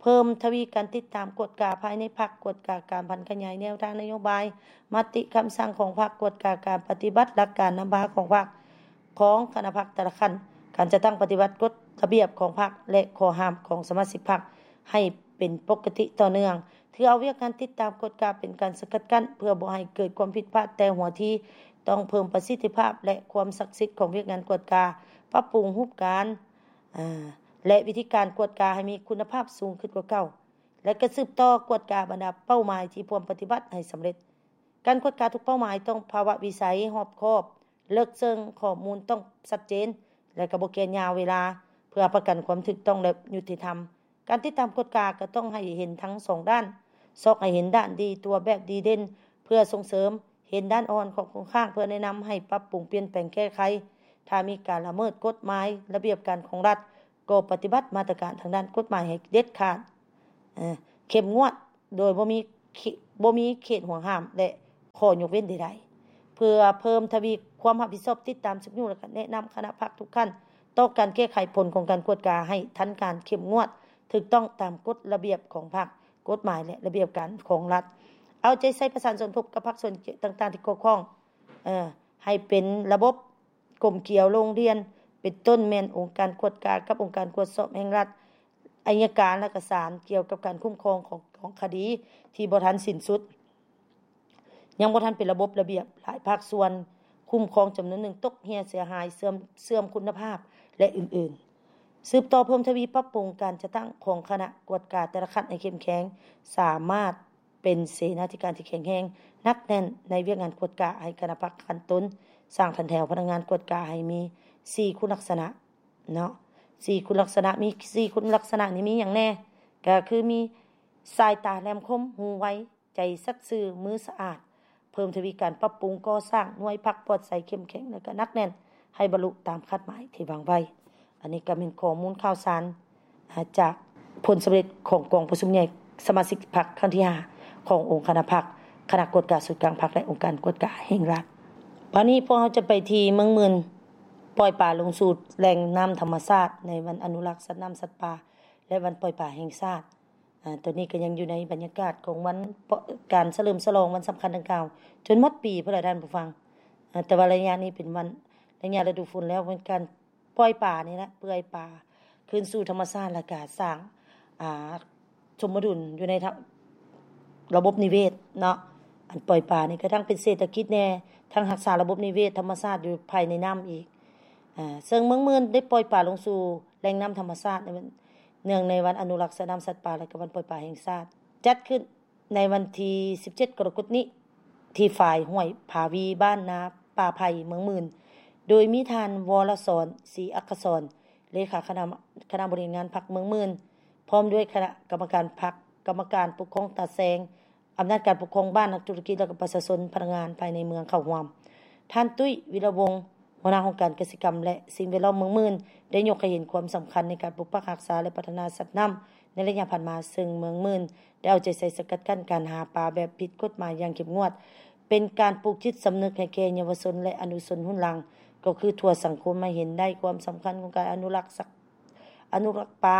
ເພີ່ມທະວີການຕິດຕາມກວດກາພາຍໃນພັກ, ກວດກາການຜັນຂະຫຍາຍແນວທາງນະໂຍບາຍ, ມະຕິຄຳສັ່ງຂອງພັກ, ກວດກາການປະຕິບັດຫຼັກການນຳພາຂອງພັກ, ຂອງຄະນະພັກແຕ່ລະຂັ້ນ, ການຈັດຕັ້ງປະຕິບັດກົດລະບຽບຂອງພັກ ແລະ ຂໍ້ຫ້າມຂອງສະມາຊິກພັກໃຫ້ເປັນປົກກະຕິຕໍ່ເນື່ອງ. ຖືເອົາວຽກງານຕິດຕາມກວດກາເປັນການສະກັດກັ້ນ ເພື່ອບໍ່ໃຫ້ເກີດຄວາມຜິດພາດແຕ່ຫົວທີ, ຕ້ອງເພີ່ມປະສິດທິພາບ ແລະ ຄວາມສັກສິດຂອງວຽກງານກວດກາ, ປັບປຸງຮູບການ ອາ ແລະ ວິທີການກວດກາໃຫ້ມີຄຸນນະພາບສູງຂຶ້ນກວ່າເກົ່າ ແລະ ກະສືບຕໍ່ກວດກາບັນດາເປົ້າໝາຍທີ່ພວມປະຕິບັດໃຫ້ສຳເລັດ. ການກວດກາທຸກເປົ້າໝາຍຕ້ອງພາວະວິໄສ, ຮອບຄອບ, ເລິກເຊິ່ງ, ຂໍ້ມູນຕ້ອງຊັດເຈນ ແລະ ກະບໍ່ແກ່ຍາວເວລາ ເພື່ອຮັບປະກັນຄວາມຖືກຕ້ອງ ແລະ ຍຸຕິທຳ. ການຕິດຕາມກວດກາກໍຕ້ອງໃຫ້ເຫັນທັງສອງດ້ານ, ຊອກໃຫ້ເຫັນດ້ານດີຕົວແບບດີເດັ່ນ ເພື່ອສົ່ງເສີມ, ເຫັນດ້ານອ່ອນຂອງຄົງຄ້າງ ເພື່ອແນະນຳໃຫ້ປັບປຸງ, ປ່ຽນແປງ, ແກ້ໄຂ. ຖ້າມີການລະເມີດກົດໝາຍ, ລະບຽບການຂອງລັດ, ກໍປະຕິບັດມາດຕະການທາງດ້ານກົດໝາຍໃຫ້ເດັດຂາດ, ເຂັ້ມງວດ ໂດຍບໍ່ມີ ບໍ່ມີເຂດຫ່ວງຫ້າມ ແລະ ຂໍ້ຍົກເວັ້ນໃດໆ. ເພື່ອເພີ່ມທະວີຄວາມຮັບຜິດຊອບ, ຕິດຕາມ, ຊຸກຍູ້ ແລະ ກະແນະນຳຄະນະພັກທຸກຂັ້ນ ຕໍ່ການແກ້ໄຂຜົນຂອງການກວດກາໃຫ້ທັນການ, ເຂັ້ມງວດ, ຖືກຕ້ອງຕາມກົດລະບຽບຂອງພັກ, ກົດໝາຍ ແລະ ລະບຽບການຂອງລັດ. ເອົາໃຈໃສ່ປະສານສົມທົບກັບພາກສ່ວນຕ່າງໆທີ່ກ່ຽວຂ້ອງ ເອີ ໃຫ້ເປັນລະບົບ ກົມກຽວໂລງຮຽນ ເປັນຕົ້ນແມ່ນອົງການກວດກາກັບອົງການກວດສອບແຫ່ງລັດ, ໄອຍະການ ແລະ ກະສານກ່ຽວກັບການຄຸ້ມຄອງຂອງ ຂອງຄະດີທີ່ບໍ່ທັນສິ້ນສຸດ, ຍັງບໍ່ທັນເປັນລະບົບລະບຽບ. ຫຼາຍພາກສ່ວນຄ ກຸ່ມຂອງຈຳນວນໜຶ່ງຕົກເຫ່ຍເສຍຫາຍ, ເສື່ອມ, ເສື່ອມຄຸນນະພາບ ແລະ ອື່ນໆ. ສືບຕໍ່ເພີ່ມທະວີປັບປຸງການຈັດຕັ້ງຂອງຄະນະກວດກາແຕ່ລະຂັ້ນໃຫ້ເຂັ້ມແຂງ, ສາມາດເປັນເສນາທິການທີ່ແຂງແຮງ, ໜັກແໜ້ນໃນວຽກງານກວດກາໃຫ້ຄະນະພັກຂັ້ນຕົ້ນ, ສ້າງຖັນແຖວພະນັກງານກວດກາໃຫ້ມີສີ່ຄຸນລັກສະນະເນາະ, ສີ່ຄຸນລັກສະນະ, ມີສີ່ຄຸນລັກສະນະນີ້ມີຫຍັງແດ່? ກໍຄືມີສາຍຕາແຫຼມຄົມ, ຫູໄວ, ໃຈສັດຊື່, ມືສະອາດ, ເພີ່ມທະວີການປັບປຸງກໍ່ສ້າງໜ່ວຍພັກປອດໃສເຂັ້ມແຂງ ແລະ ກໍໜັກແໜ້ນໃຫ້ບັນລຸຕາມຄາດໝາຍທີ່ວາງໄວ້. ອັນນີ້ກໍແມ່ນຂໍ້ມູນຂ່າວສານ ອາ ຈາກຜົນສຳເລັດຂອງກອງປະຊຸມໃຫຍ່ສະມາຊິກພັກຄັ້ງທີຫ້າ ຂອງອົງຄະນະພັກ, ຄະນະກວດກາສູນກາງພັກ ແລະ ອົງການກວດກາແຫ່ງລັດ. ບາດນີ້ພວກເຮົາຈະໄປທີ່ເມືອງໝື່ນ, ປ່ອຍປາລົງສູ່ແຫຼ່ງນ້ຳທຳມະຊາດໃນວັນອະນຸລັກສັດນ້ຳສັດປ່າ ແລະ ວັນປ່ອຍປາແຫ່ງຊາດ. ອາ ຕອນນີ້ກໍຍັງຢູ່ໃນບັນຍາກາດຂອງວັນ ການສະເຫຼີມສະຫຼອງວັນສຳຄັນດັ່ງກ່າວ ຈົນໝົດປີພຸ້ນລະທ່ານຜູ້ຟັງ. ອາ ແຕ່ວ່າໄລຍະນີ້ເປັນວັນ ໄລຍະລະດູຝົນແລ້ວ ເປັນການປ່ອຍປານີ້ແຫຼະ, ປ່ອຍປາຄືນສູ່ທຳມະຊາດ ແລ້ວກະສ້າງ ອາ ສົມດຸນຢູ່ໃນ ລະບົບນິເວດເນາະ. ອັນປ່ອຍປານີ້ກໍທັງເປັນເສດຖະກິດແດ່, ທັງຮັກສາລະບົບນິເວດທຳມະຊາດຢູ່ພາຍໃນນ້ຳອີກ. ອາ ເຊິ່ງເມືອງໝື່ນໄດ້ປ່ອຍປາລົງສູ່ແຫຼ່ງນ້ຳທຳມະຊາດ ໃນວັນ ເນື່ອງໃນວັນອະນຸລັກສັດນ້ຳສັດປ່າ ແລະ ກະວັນປ່ອຍປາແຫ່ງຊາດ ຈັດຂຶ້ນໃນວັນທີສິບເຈັດ ກໍລະກົດນີ້ ທີ່ຝາຍຫ້ວຍຜາວີ ບ້ານນາປ່າໄຜ່ ເມືອງໝື່ນ, ໂດຍມີທ່ານ ວໍລະສອນ ສີອັກຄະສອນ ເລຂາຄະນະ ຄະນະບໍລິຫານງານພັກເມືອງໝື່ນ ພ້ອມດ້ວຍຄະນະກຳມະການພັກ, ກຳມະການປົກຄອງຕາແສງ, ອຳນາດການປົກຄອງບ້ານ, ນັກທຸລະກິດ ແລະ ກໍປະຊາຊົນ, ພະນັກງານພາຍໃນເມືອງເຂົ້າຮ່ວມ. ທ່ານ ຕຸ້ຍ ວິລະວົງ ຫົວໜ້າຫ້ອງການກະສິກຳ ແລະ ສິ່ງແວດລ້ອມເມືອງໝື່ນ ໄດ້ຍົກໃຫ້ເຫັນຄວາມສຳຄັນໃນການປົກປັກຮັກສາ ແລະ ພັດທະນາສັດນ້ຳໃນໄລຍະຜ່ານມາ, ເຊິ່ງເມືອງໝື່ນໄດ້ເອົາໃຈໃສ່ສະກັດກັ້ນການຫາປາແບບຜິດກົດໝາຍຢ່າງເຂັ້ມງວດ, ເປັນການປູກຈິດສຳນຶກໃຫ້ແກ່ເຍົາວະຊົນ ແລະ ອະນຸຊົນຮຸ່ນຫຼັງ, ກໍຄືທົ່ວສັງຄົມໃຫ້ເຫັນໄດ້ຄວາມສຳຄັນຂອງການອະນຸລັກສັກ ອະນຸລັກປາ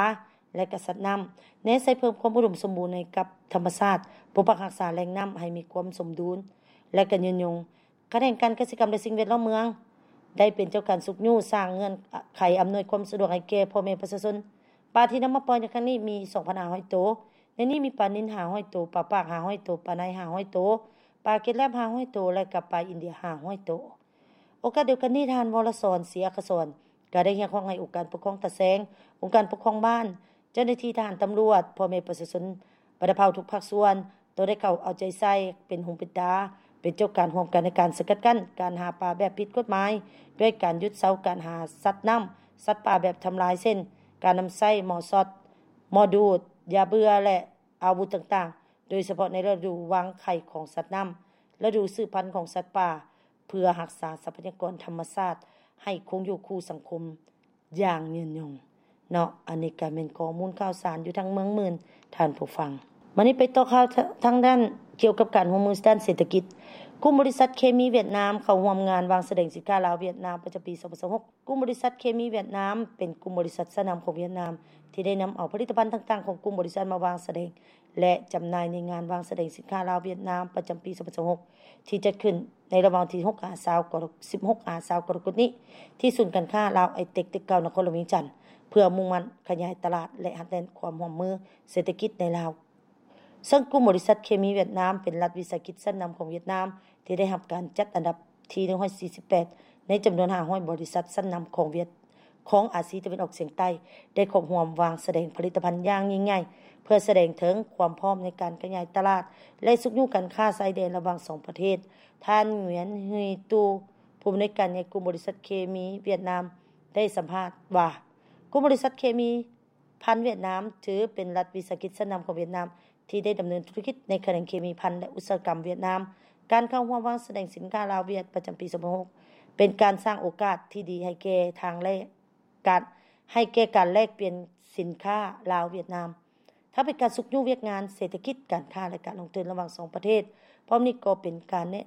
ແລະ ກະສັດນ້ຳ, ແນໃສ່ເພີ່ມຄວາມອຸດົມສົມບູນໃຫ້ກັບທຳມະຊາດ, ປົກປັກຮັກສາແຫຼ່ງນ້ຳໃຫ້ມີຄວາມສົມດຸນ ແລະ ກະຍືນຍົງ. ຂະແໜງການກະສິກຳ ແລະ ສິ່ງແວດລ້ອມເມືອງ ໄດ້ເປັນເຈົ້າການຊຸກຍູ້ສ້າງເງື່ອນໄຂອຳນວຍຄວາມສະດວກໃຫ້ແກ່ພໍ່ແມ່ປະຊາຊົນ. ປາທີ່ນຳມາປ່ອຍໃນຄັ້ງນີ້ມີສອງພັນຫ້າຮ້ອຍໂຕ, ໃນນີ້ມີປານິນຫ້າຮ້ອຍໂຕ, ປາປາກຫ້າຮ້ອຍໂຕ, ປາໄນຫ້າຮ້ອຍໂຕ, ປາເກັດແລັບຫ້າຮ້ອຍໂຕ ແລະ ກະປາອິນເດຍຫ້າຮ້ອຍໂຕ. ໂອກາດດຽວກັນນີ້, ທ່ານ ວໍລະສອນ ສີອັກຄະສອນ ກໍໄດ້ຮຽກຮ້ອງໃຫ້ອົງການປົກຄອງຕາແສງ, ອົງການປົກຄອງບ້ານ, ເຈົ້າໜ້າທີ່ທະຫານ, ຕຳຫຼວດ, ພໍ່ແມ່ປະຊາຊົນບັນດາເຜົ່າທຸກພາກສ່ວນ ຕ້ອງໄດ້ເຂົ້າເອົາໃຈໃສ່, ເປັນຫູເປັນຕາ, ເປັນເຈົ້າການຮ່ວມກັນໃນການສະກັດກັ້ນການຫາປາແບບຜິດກົດໝາຍ, ດ້ວຍການຢຸດເຊົາການຫາສັດນ້ຳ, ສັດປ່າແບບທຳລາຍ ເຊັ່ນ ການນຳໃຊ້ໝໍ້ຊັອດ, ໝໍ້ດູດ, ຢາເບື່ອ ແລະ ອາວຸດຕ່າງໆ, ໂດຍສະເພາະໃນລະດູວາງໄຂ່ຂອງສັດນ້ຳ, ລະດູສືບພັນຂອງສັດປ່າ, ເພື່ອຮັກສາຊັບພະຍາກອນທຳມະຊາດໃຫ້ຄົງຢູ່ຄູ່ສັງຄົມຢ່າງຍືນຍົງເນາະ. ອັນນີ້ກໍແມ່ນຂໍ້ມູນຂ່າວສານຢູ່ທາງເມືອງໝື່ນ, ທ່ານຜູ້ຟັງ. ມານີ້ໄປຕໍ່ຂ່າວທາ-, ທາງດ້ານກ່ຽວກັບການຮ່ວມມືດ້ານເສດຖະກິດ. ກຸ່ມບໍລິສັດເຄມີຫວຽດນາມເຂົ້າຮ່ວມງານວາງສະແດງສິນຄ້າລາວ-ຫວຽດນາມປະຈຳປີສອງພັນຊາວຫົກ. ກຸ່ມບໍລິສັດເຄມີຫວຽດນາມເປັນກຸ່ມບໍລິສັດຊັ້ນນຳຂອງຫວຽດນາມ ທີ່ໄດ້ນຳເອົາຜະລິດຕະພັນຕ່າງໆຂອງກຸ່ມບໍລິສັດມາວາງສະແດງ ແລະ ຈຳໜ່າຍໃນງານວາງສະແດງສິນຄ້າລາວ-ຫວຽດນາມປະຈຳປີສອງພັນຊາວຫົກ ທີ່ຈັດຂຶ້ນໃນລະຫວ່າງວັນທີຫົກ ຫາ ຊາວ ກໍລະ ສິບຫົກ ຫາ ຊາວ ກໍລະກົດນີ້ ທີ່ສູນການຄ້າລາວໄອເຕັກ ຕຶກເກົ່າ ນະຄອນຫຼວງວຽງຈັນ ເພື່ອມຸ່ງໝັ້ນຂະຫຍາຍຕະຫຼາດ ແລະ ຮັດແໜ້ນຄວາມຮ່ວມມືເສດຖະກິດໃນລາວ. ເຊິ່ງກຸ່ມບໍລິສັດເຄມີຫວຽດນາມເປັນລັດວິສາຫະກິດຊັ້ນນຳຂອງຫວຽດນາມ ທີ່ໄດ້ຮັບການຈັດອັນດັບທີໜຶ່ງຮ້ອຍສີ່ສິບແປດ ໃນຈຳນວນຫ້າຮ້ອຍບໍລິສັດຊັ້ນນຳຂອງຫວຽດ ຂອງອາຊີຕາເວັນອອກສຽງໃຕ້ ໄດ້ເຂົ້າຮ່ວມວາງສະແດງຜະລິດຕະພັນຢ່າງຍິ່ງໃຫຍ່ ເພື່ອສະແດງເຖິງຄວາມພ້ອມໃນການຂະຫຍາຍຕະຫຼາດ ແລະ ຊຸກຍູ້ການຄ້າຊາຍແດນລະຫວ່າງສອງປະເທດ. ທ່ານ ງວຽນ ຮີຕູ ຜູ້ອຳນວຍການໃຫຍ່ກຸ່ມບໍລິສັດເຄມີຫວຽດນາມ ໄດ້ສຳພາດວ່າ ກຸ່ມບໍລິສັດເຄມີ ພັນຫວຽດນາມ ຖືເປັນລັດວິສາຫະກິດຊັ້ນນຳຂອງຫວຽດນາມ ທີ່ໄດ້ດຳເນີນທຸລະກິດໃນຂະແໜງເຄມີພັນ ແລະ ອຸດສາຫະກຳຫວຽດນາມ. ການເຂົ້າຮ່ວມວາງສະແດງສິນຄ້າລາວ-ຫວຽດ ປະຈຳປີສອງພັນຊາວຫົກ ເປັນການສ້າງໂອກາດທີ່ດີໃຫ້ແກ່ທາງແລກ ການ ໃຫ້ແກ່ການແລກປ່ຽນສິນຄ້າລາວ-ຫວຽດນາມ, ທັງເປັນການຊຸກຍູ້ວຽກງານເສດຖະກິດ, ການຄ້າ ແລະ ການລົງທຶນລະຫວ່າງສອງປະເທດ. ພ້ອມນີ້ກໍເປັນການແນະ